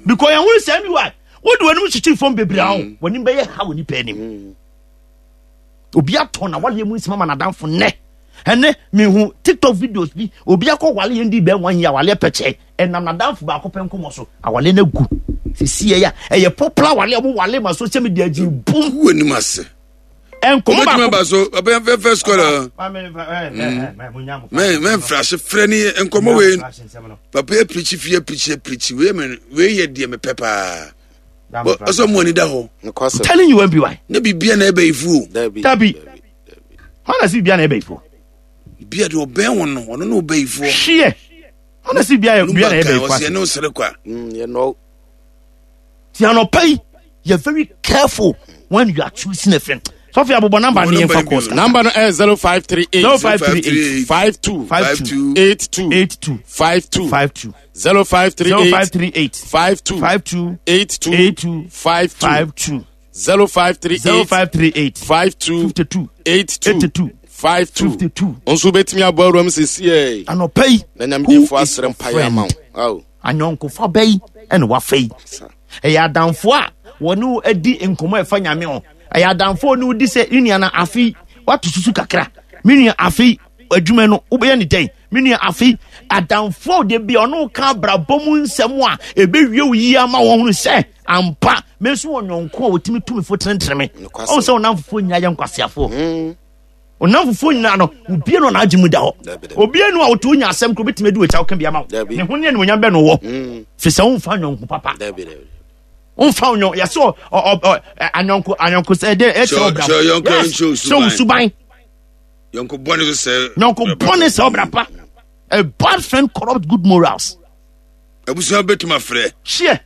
because yɛn ho sɛ mi wa wode w'anim kyekyere fam bebree aho w'anim bɛyɛ ha wɔ nipa anim obi atɔ na waleɛ mu nsɛm ama n'adamfo nnɛ ɛnɛ mehu tiktok videos bi obi akɔ wale yɛn di bɛn wɔn yi awaleɛ pɛkyɛ ɛnam n'adamfo baako pɛ nkɔmɔ so awale no agu sisi yɛ ya ɛyɛ popular wale ɔmo wale ma social media gyi bum. wɔ anim ase. Nkɔmɔ baako. Obetumi aba so ɔbɛn fɛfɛ sukɔla. Mɛ mɛ nfrase frɛ ni nkɔmɔ wei papa yɛ pirikyi fi yɛ pirikyi yɛ pirikyi wei mɛ wei yɛ deɛ mɛ pɛ paa. Ɔsɔ mu ani da hɔ. I'm telling you MBY. Ne bibia na ɛbɛ ifu o. Dabi. Hɔn na si bibia na ɛbɛ ifu. Bibia de ɔbɛn wɔn no ɔno na ɔbɛ ifu. Hwiɛ. Hɔn na si bibia na ɛbɛ ifu. Ɔsi ɛne ɔsere kwa. Yɛ nɔ. Ti anɔpa yi yɛ very careful when you are choosing a friend. Sɔfo abobɔ namba ni yɛn fa kɔɔ sika. Namba no ɛyɛ 0538 0538 52 52 82 82 52 52 0538 0538 52 52 82 82 52 52. 0538 0538 52 52 82 82 52 52. Nso wobɛtumi abɔ awuram sesiei Anɔpa yi, na nyamedifoɔ who is asrɛ your mpaeɛ ama wo. friend? Ao. Anyɔnkofa bɛyi ɛna wafa yi. Ɛyɛ adamfo a wɔne wo adi nkɔmmɔ a ɛfa Nyame ho. Ɛyɛ adamfo a ɔne wo di sɛ, me nua na afe wato susu kakra. Me nua afe adwuma no wobɛyɛ ne dɛn? Me nua afe adamfo a ɔde bi ɔne wo ka abrabɔ mu nsɛm a ɛbɛwie wo yie ama wɔn hunu sɛ ampa me nso wɔ nyɔnko a wɔtumi tu me fo tenetene me. Ɔhu sɛ wo namfofoɔ nyinaa yɛ nkwaseafoɔ. Ɔnam fufuo nyinaa no, obie no n'adwene mu da hɔ. Obie no a wotu wonya asɛm koro betumi adi w'akyi a woka bi ama wo. Ne ho ne animuonyam bɛ no wɔ. Fi sɛ womfa nyɔnko papa. Womfa nyɔnko yɛsɛ ɔ ɔ anyɔnko anyɔnko sɛ ɛdɛ ɛkyɛ ɔbra. Yes, sɛ wo suban. Yɔnko bɔne so sɛ. Yɔnko bɔne sɛ ɔbra pa. A bad friend corrupt good morals. Abusua bɛtumi afrɛ. Hyeɛ.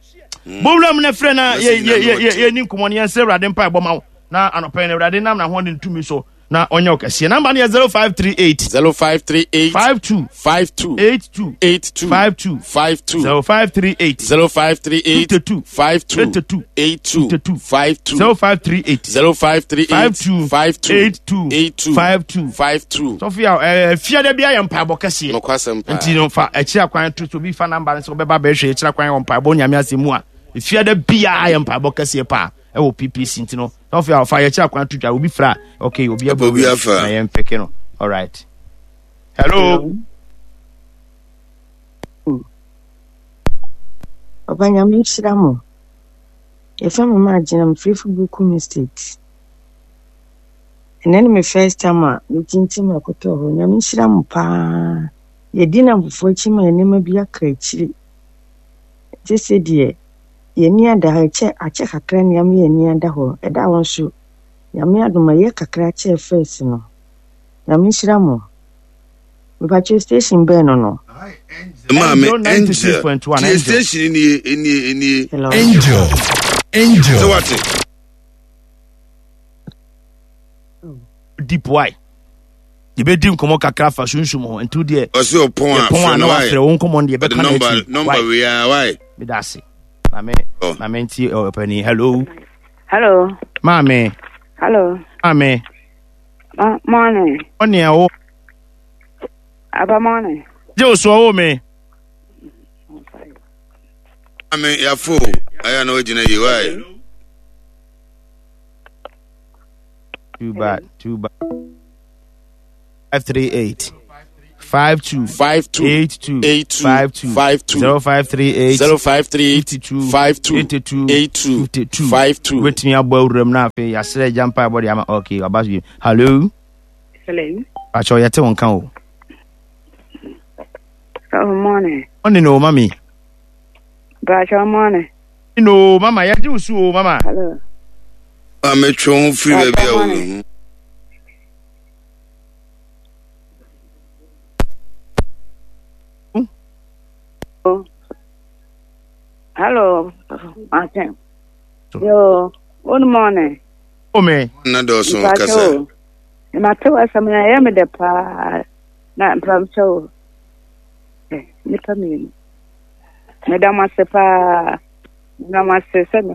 Bowura mu na frɛ na yɛ yɛ yɛ yɛ ni nkɔmɔ ne yɛn sɛ Awurade mpa ɛbɔ ma wo. Na anɔpɛ no Awurade nam n'ahoɔden tumi so na ɔnyɛ wo kɛseɛ. Namba no yɛ 0538 0538 52 52 82 82 52 52 0538 0538 52 52 82 82 52 52 0538 0538 52 52 82 82 52 52. Sɔfo yɛ ɛɛ fiada bi ayɛ mpaebɔ kɛseɛ. Nokwasɛm paa. Nti no fa akyiri akwan to so obi fa namba no sɛ ɔbɛba bɛhwɛ akyiri akwan wɔ mpaebɔ nyame asɛm mu a fiada biara yɛ mpaebɔ kɛseɛ paa ɛwɔ PPC nti no sɔfo yɛ fa yɛkyiri akwan to dwa obi fra okay obi abɔ Obi afa. na yɛn peke no alright hello. Papa Nyame nhyira mo. Yɛfrɛ me Margina, mefiri Fubukum Estate. Ɛnɛ ne me first time a metintim ɛkotɔɔ hɔ. Nyame nhyira mo paa. Yɛdi nnamfofoɔ akyi ma nneɛma bi aka akyiri. Sese deɛ yɛni ada hɔ, ɛkyɛ akyɛ kakra ni ama yɛni ada hɔ. Ɛda hɔ nso, Nyame adom ɛyɛ kakra kyɛɛ first no. Nyame nhyira mo. Mepakyɛw station bɛn no no? Maame Angel Angel 96.1 tie Angel. station nie enie enie. Hello. Angel. Angel. Sɛ wate. Deep why? Yɛbɛdi nkɔmmɔ kakra fa sunsum ho nti deɛ Ɔsɛ ɔpɔn a yɛpɔn a frɛ na no wafrɛ wae. wo nkɔmmɔ no deɛ Ɔde yɛbɛka no nɔmba akyiri nɔmba why? wei a wae. Meda ase. Maame Oh. maame nti ɔpani hello. Hello. Maame. Hello. Maame. Ma morning. Ɔne ɛwo. Aba morning. Gye wo so ɔwo me. Maame yafo ayɛ na wagyina yie wae. Too bad. Too bad. 538 52 52 82 82 52 52 0538 0538 52 52 82 82 52 52. Wobɛtumi abɔ awuram no afei yɛasrɛ agya mpa ɛbɔ de ama ok aba so bi hello. Hello. Pakyɛ yɛte wo nka o. Oh, morning. Ɔne no mami. Pakyɛ morning. No mama yɛgye wo so o mama. Hello. Maame twe ho firi baabi a wɔ ho. Hello, Martin. Yo, good morning. Ome. Na dɔɔso kasa. Mate w'asɛm na ɛyɛ me dɛ paa na mpamkyɛ o. Nnipa mmienu. Meda mo ase paa. Meda mo ase sɛ me.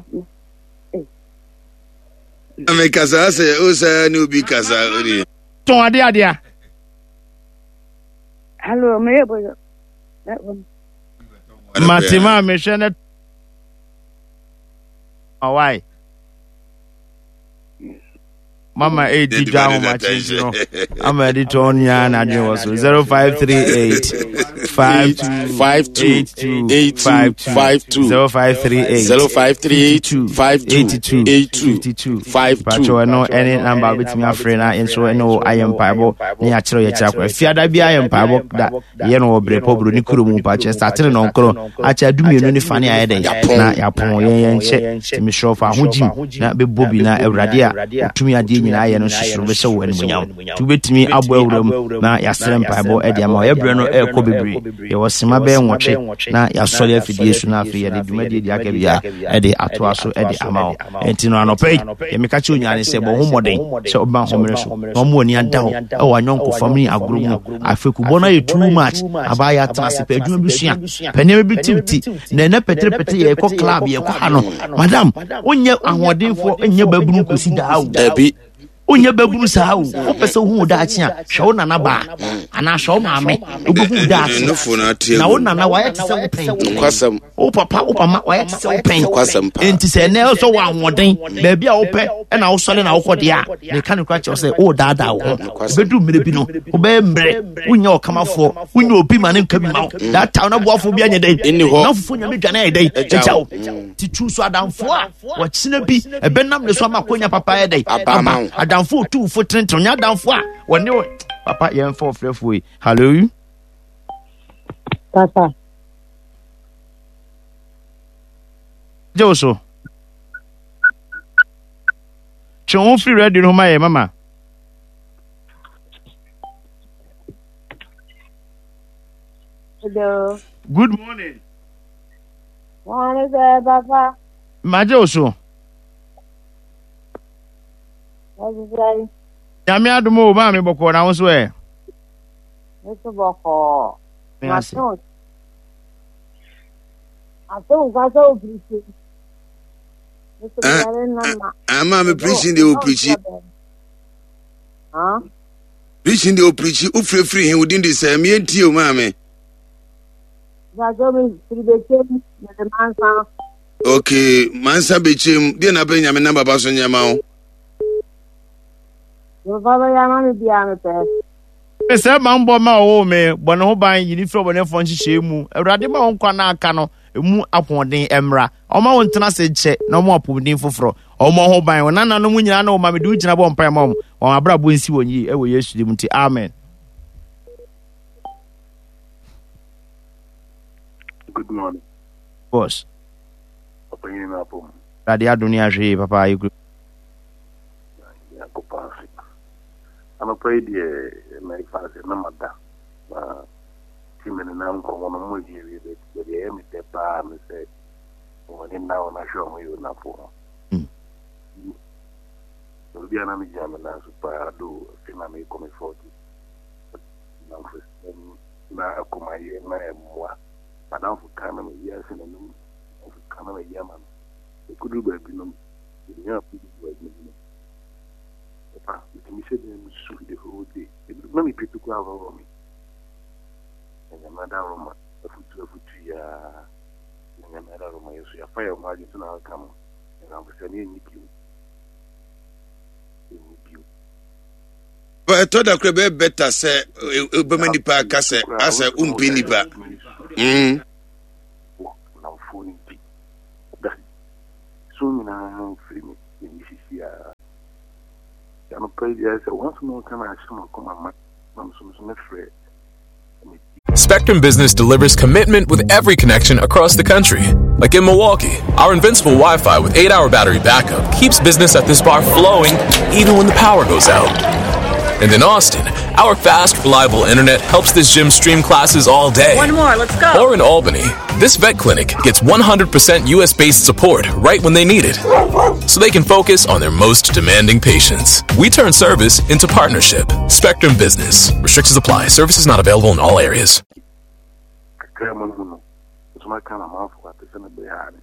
Me kasa sɛ o sɛ ne obi kasa o de. Tɔn ade ade a. Hello, me yɛ boyo. Mate maa mehwɛ ne. Why? Mama edi dwa ahomakye nti no ama ɛde tɔn nyinaa n'adwene wɔ so 0538 52 52 82 82 52 0538 0538 52 82 82 52 52. Pakyɛ ɛno ɛne namba a wobɛtumi afrɛ na yɛn nso ɛne wo ayɛ mpaebɔ ne yɛakyerɛ yɛkyerɛ akɔ afiada bi ayɛ mpaebɔ da yɛ no wɔ berɛ pɔ buroni kuro mu mpakyɛ satene nɔnkoro akyɛ adumienu ne fa ne ayɛ dɛn na yɛapɔn yɛn yɛn nkyɛ nti mesrɛ fa ho gyim na bɛbɔ bi na awurade a ɔtumi adeɛ nyinaa yɛ no nso bɛhyɛ wo animuonyam nti wobɛtumi abɔ awura mu na yɛasrɛ mpaebɔ de ama yɛ berɛ no ɛrekɔ bebree. Yɛwɔ sema bɛyɛ nwɔtwe na yɛasɔre afidie so na afei yɛde dwumadie deɛ aka biara ɛde atoa so ɛde ama wo. Ɛnti no anɔpa yi, deɛ meka kyerɛ nyinaa ne sɛ bɔ ho mmɔden sɛ wobɛma homene so na ɔmo ani ada hɔ ɛwɔ anyɔnkofa mu ne agorɔ mu. Afekubɔ no ayɛ too much. Abaa yɛ atena ase pɛ adwuma bi sua, pɛ nneɛma bi tiw ti. Na ɛnɛ pɛtɛpɛtɛ yɛkɔ club yɛkɔ ha no. Madam, wonyɛ ahoɔdenfoɔ nyɛ babunu kɔsi daa o. Dabi. Wonyɛ babunu saa o. Wopɛ sɛ wohu wo daakye a, hwɛ wo nana baa anaa hwɛ wo maame. Wobɛhu wo daakye. Na wo nana wayɛ te sɛ wo pɛn. Wo papa wo mama wayɛ te sɛ wo pɛn. Enti sɛ ɛnɛ sɛ wɔ ahoɔden baabi a wopɛ ɛna wosɔre na wokɔ deɛ a, meka no kora kyerɛ sɛ woredaadaa wo ho. Ɛbɛduru mmerɛ bi no, wobɛyɛ mmerɛ, wonyɛ ɔkamafoɔ, wonyɛ obi ma ne nka bi ma wo. That time na boafoɔ bi anyɛ dɛn? Na fufuo nyame dwane ayɛ dɛn? Agya wo. Ti tu so adamfoɔ a wɔkyena bi ɛbɛnam ne so ama akonya papa ayɛ dɛn? Aba. Adamfoɔ otumfo tenetene, ɔnyɛ adamfoɔ a wɔne wo. Papa yɛmfa ɔfrɛfoɔ yi. Hello. Papa. Gye wo so. Twe wo ho firi radio no ho ma yɛ mama. Hello. Good morning. Morning, sir, Papa. Magye wo so. Nyame adom o, maame bɔkɔɔ na wo nso ɛ. Nso bɔkɔɔ. Mato. Ato nka sɛ wo pirikyi. Ah, maame pirikyi deɛ wo pirikyi. Pirikyi deɛ wo pirikyi, wofirifiri he wo din de sɛ meɛ ntie o maame. Okay, mansa bɛkyɛm deɛ na bɛ nyame nam baba so nyɛma wo. Sɛ banbɔ ma ɔwoo me, bɔ ne ho ban, yi ne firi ɔbɔnefoɔ nhyehyɛe mu. Awurade ma wo nkwa na aka no emu ahoɔden mmra. Ɔma wo ntena ase nkyɛ na ɔma apɔmuden foforɔ. Ɔmmɔ ho ban. Wo nananom nyinaa ne wo ma mede wo gyina bɔ mpae ma wɔn. Wɔn abrabɔ nsi wɔn yie ɛwɔ Yesu din mu nti, amen. Good morning. Boss. Ɔpanyin no apɔ mu. Awurade adom ne ahwɛ yie papa ayɛ kuro. Nyankopɔn ase. Anɔpa yi deɛ mɛfa sɛ na mada na ti me nenam nkɔmmɔ no mo awie awie bɛ deɛ ɛyɛ me dɛ paa ne sɛ wɔn ani nna wɔn ahwɛ wɔn yɛ onafo ho. Obi a na megyina me nan so paa do afei na mekɔ me 40 namfosɛm na akomayɛ na ɛmmoa. Madamfo ka na mayi ase n'anom, madamfo ka na mayi ama no. Ɛkɔduru baabi no, menya afotu wɔ adwuma bi mu. Papa, metumi hyɛ dan mu su the whole day. Na me pɛ koraa worɔworɔ me. Na Nyame adaworoma, afutu afutu yi ara. Na Nyame adaworoma yɛ so yɛafa yɛn ho adwene sɛ na aka no. Nnamfosɛm yɛnni bio. Yɛnni bio. Ɛtɔ da kora bɛyɛ bɛta sɛ wobɛma nipa aka sɛ asɛ wompɛ nipa. Mm. Nnamfoɔ no nti, da so nyinaa mfiri me m'ani sisi a. Anɔpa yi deɛ sɛ wɔn asɛm a wɔka no ahyɛ m'akoma ma na me nso me nso mɛfrɛ Spectrum Business delivers commitment with every connection across the country. Like in Milwaukee, our invincible Wi Fi with 8 hour battery backup keeps business at this bar flowing even when the power goes out. And in Austin, our fast, reliable internet helps this gym stream classes all day. One more, let's go. Or in Albany, this vet clinic gets 100% US based support right when they need it, so they can focus on their most demanding patients. We turn service into partnership. Spectrum Business. Restrictions apply. Services not available in all areas. Kakra mu no no, nso maka na amanfo ate sɛ mebɛyɛ a ne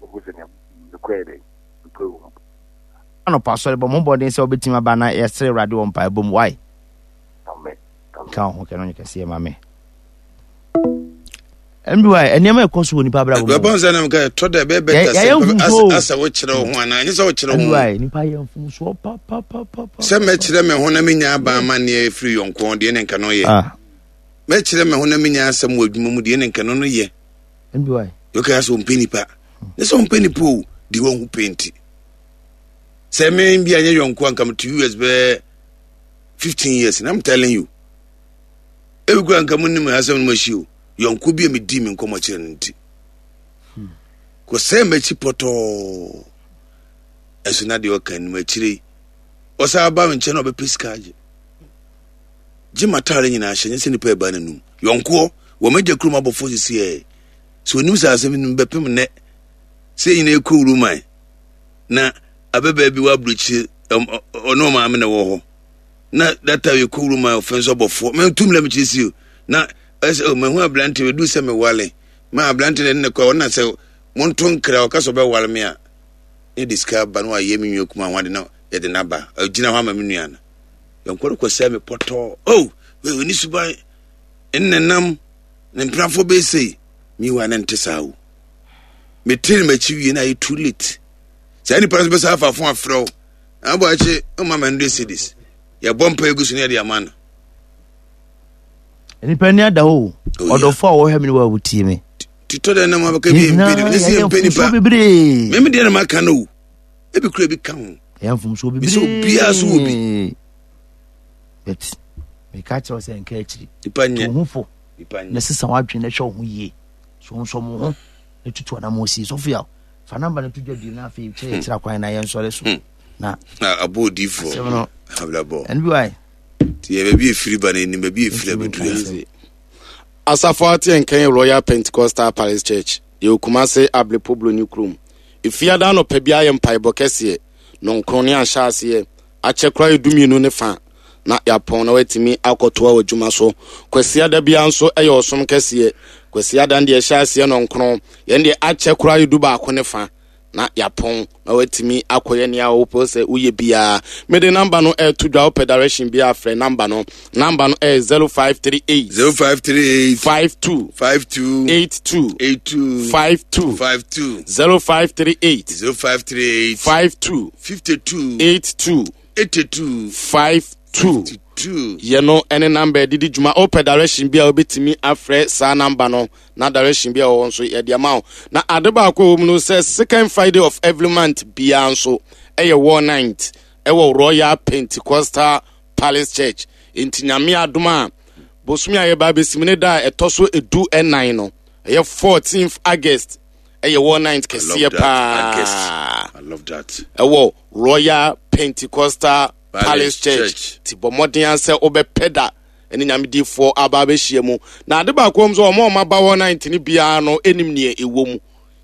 wɔhu sɛ nea mekɔɛ dɛn mekɔɛ wɔ mu. Anɔpa asɔre bɔ mo mmɔden sɛ wobɛtumi aba na yɛsrɛ Awurade wɔ mpaebɔ mu. Why? Amen. Ka wo ho kɛ no nyɛ kɛseɛ ma me. Nby nneɛma ɛkɔ so wɔ nipa abrabɔ mu. Bɛbɔ nsa nam ka ɛtɔ da ɛbɛyɛ bɛta sɛ asɛ wokyerɛ wo ho anaa nyɛ sɛ wokyerɛ wo ho. Nby nipa yɛ mfomsoɔ papapapa. Sɛ mɛkyerɛ me ho na menya aban amanneɛ firi yɔnko deɛ ne nka no yɛ. Ah. Mɛkyerɛ me ho na menya asɛm wɔ adwuma mu deɛ ne nka no no yɛ. Nby. Yɔka sɛ ɔmpɛ nipa. Ne sɛ ɔmpɛ nipa o deɛ wahu pɛ nti. Sɛ me bi anyɛ yɔnko anka mete US bɛɛ 15 years and I'm telling you. Ebi kura nka mo nim asɛm no mo ahyi o. Yɔnko bi a medi me nkɔmmɔ kyerɛ no nti. Kɔ sɛ m'akyi pɔtɔɔ. Ɛso na deɛ ɔka anim akyire yi. Ɔsan aba me nkyɛn na ɔbɛpɛ sika agye. Gye m'ataare nyinaa hyɛ nyɛ sɛ nipa ɛba n'anum. Yɔnkoɔ. Wɔ m'agya kurom abɔfoɔ sisi ɛ. Sɛ onim sɛ asɛm no bɛpem nnɛ sɛ nyina ɛkɔ wuruman na abɛbaa bi wɔ aburokyire ɔne ɔmaame na ɛwɔ hɔ na that time yɛkɔ wuruman ɔfɛ nso abɔfoɔ mentum na mekyerɛ si o na ɛsɛ o mahu aberante ɛduru sɛ mewale ma aberante na ɛne ne kɔ ɔna sɛ monto nkra ɔka sɛ ɔbɛwale me a ne de sika ba na wayɛ me nua kuma ho ade na yɛde no aba ɔgyina hɔ ama me nua no yɛnkɔ no kɔsɛe me pɔtɔɔ o ɔni suban nnenam ne mpenafoɔ bɛyɛ sei mewa ne nte saa o metiri m'akyi wie na ayɛ too late saa nipa no nso bɛsa afa fo afrɛ wo abɔ akyi ɔma ma 100 cedis yɛbɔ mpa egu so ne yɛde ama no nipa ni ada hɔ o oh, ɔdɔfo a wɔhwɛ me ne wɔ a wotie me titɔ dɛ nam abɛka bi mpɛ ne sɛ yɛmpɛ nipa meme deɛ na maka no o ebi kura bi ka ho ɛyɛ mfomsoɔ bebree mesɛ obiara so wɔ bi but meka kyerɛ sɛ nka akyiri nipa nyɛ to ho fo na sesa w'adwene na hwɛ wo ho yie so nsɔ mo ho na tutu anamɔ sie sɔfo yaw fa namba no to dwa bio na afei kyerɛ yɛkyerɛ kwan na yɛnsɔre so hmm. na abɔ odiifoɔ asɛm no abrabɔ ɛno bi wae nti yɛ baabi efiri ba na enim baabi efiri abɛduru ya Asafo Ate Nkan Royal Pentecostal Palace Church, yɛwɔ Kumase Ablepo Broni kurom. Efiada anɔpa biara yɛ mpaebɔ kɛseɛ, nɔnkron ne ahyɛaseɛ, akyɛ koraa yɛ dumienu ne fa na yɛapɔn na watumi akɔtoa w'adwuma so. Kwasiada biara nso yɛ ɔsom kɛseɛ. Kwasiada no deɛ ɛhyɛ aseɛ nɔnkron, yɛn deɛ akyɛ koraa yɛ dubaako ne fa na yɛapɔn na watumi akɔyɛ nea wopɛ sɛ woyɛ biara. Mede namba no ɛreto dwa, wopɛ direction biara frɛ namba no. Namba no ɛyɛ 0538 0538 52 52 82 82 52 52 0538 0538 52 52 82 82 52 2 yɛ no ne namba yɛde di dwuma. Wopɛ direction bi a wobɛtumi afrɛ saa namba no na direction bi a wɔwɔ nso yɛde ama wo. Na ade baako a ɛwɔ mu no sɛ second Friday of every month biara nso ɛyɛ war night ɛwɔ Royal Pentecostal Palace Church. Nti Nyame adom a bosome a yɛba abɛsim ne da a ɛtɔ so edu ɛnan no ɛyɛ 14th August ɛyɛ war night kɛseɛ paa ɛwɔ Royal Pentecostal Palace Church. Ti bɔ mmɔden sɛ wobɛpɛ da ne Nyame difoɔ aba abɛhyia mu. Na ade baako wɔm sɛ wɔn a wɔaba hɔ ninth no biara no nim neɛ ɛwɔ mu.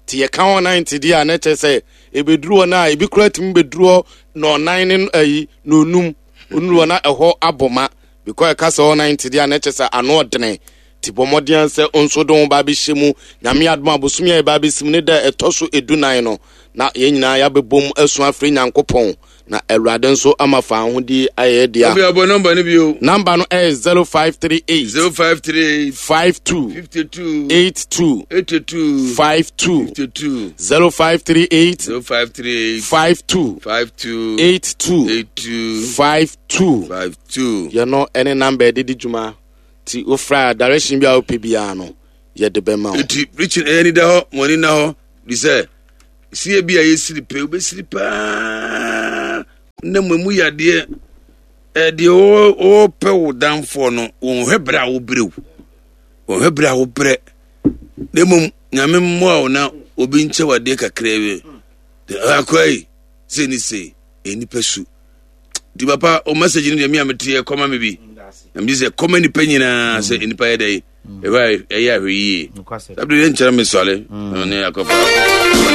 Nti yɛka hɔ ninth deɛ a na kyerɛ sɛ ɛbɛduru hɔ no a ebi koraa tumi bɛduru hɔ nɔnan ne ayi nɔnum onuru hɔ na ɛhɔ abɔ ma because ɛka sɛ hɔ ninth deɛ a na kyerɛ sɛ ano ɔdene. Nti bɔ mmɔden sɛ nso de wo ba abɛhyɛ mu. Nyame adom a bosome a yɛba abɛsi mu ne da ɛtɔ so edunan no na yɛn nyinaa yɛabɛbom asu afrɛ Nyankopɔn na Awurade nso ama fa ahodi ayɛ yɛ dea. Afei abɔ nɔmba no bio. Nɔmba no ɛyɛ 0538. 0538. 52. 52. 82. 82. 52. 52. 0538. 0538. 52. 52. 82. 82. 52. 52. Yɛno ɛne nɔmba yɛde di dwuma. Ti wofra direction bi a wopɛ biara no yɛde bɛma wo. Eti preaching ɛyɛ ni da hɔ, mo ani na hɔ, di sɛ sie bi a yɛsiri pɛ wobɛsiri paa na mo mu yadeɛ ɛdeɛ wɔpɛ wo danfoɔ no wɔnhwɛ berɛ a wobrɛ wo wɔnhwɛ berɛ a wobrɛ na mmom nyame mmoa wo na obi nkyɛ wadeɛ kakraa bi akɔ yi sei ne sei nnipa su nti papa o message no deɛ me a meteɛ kɔma me bi na megye sɛ kɔma nnipa nyinaa sɛ nnipa yɛ dɛn ɛhɔ a ɛyɛ ahwɛ yie. Saa bere yɛnkyerɛ me sɔre ne akɔfa.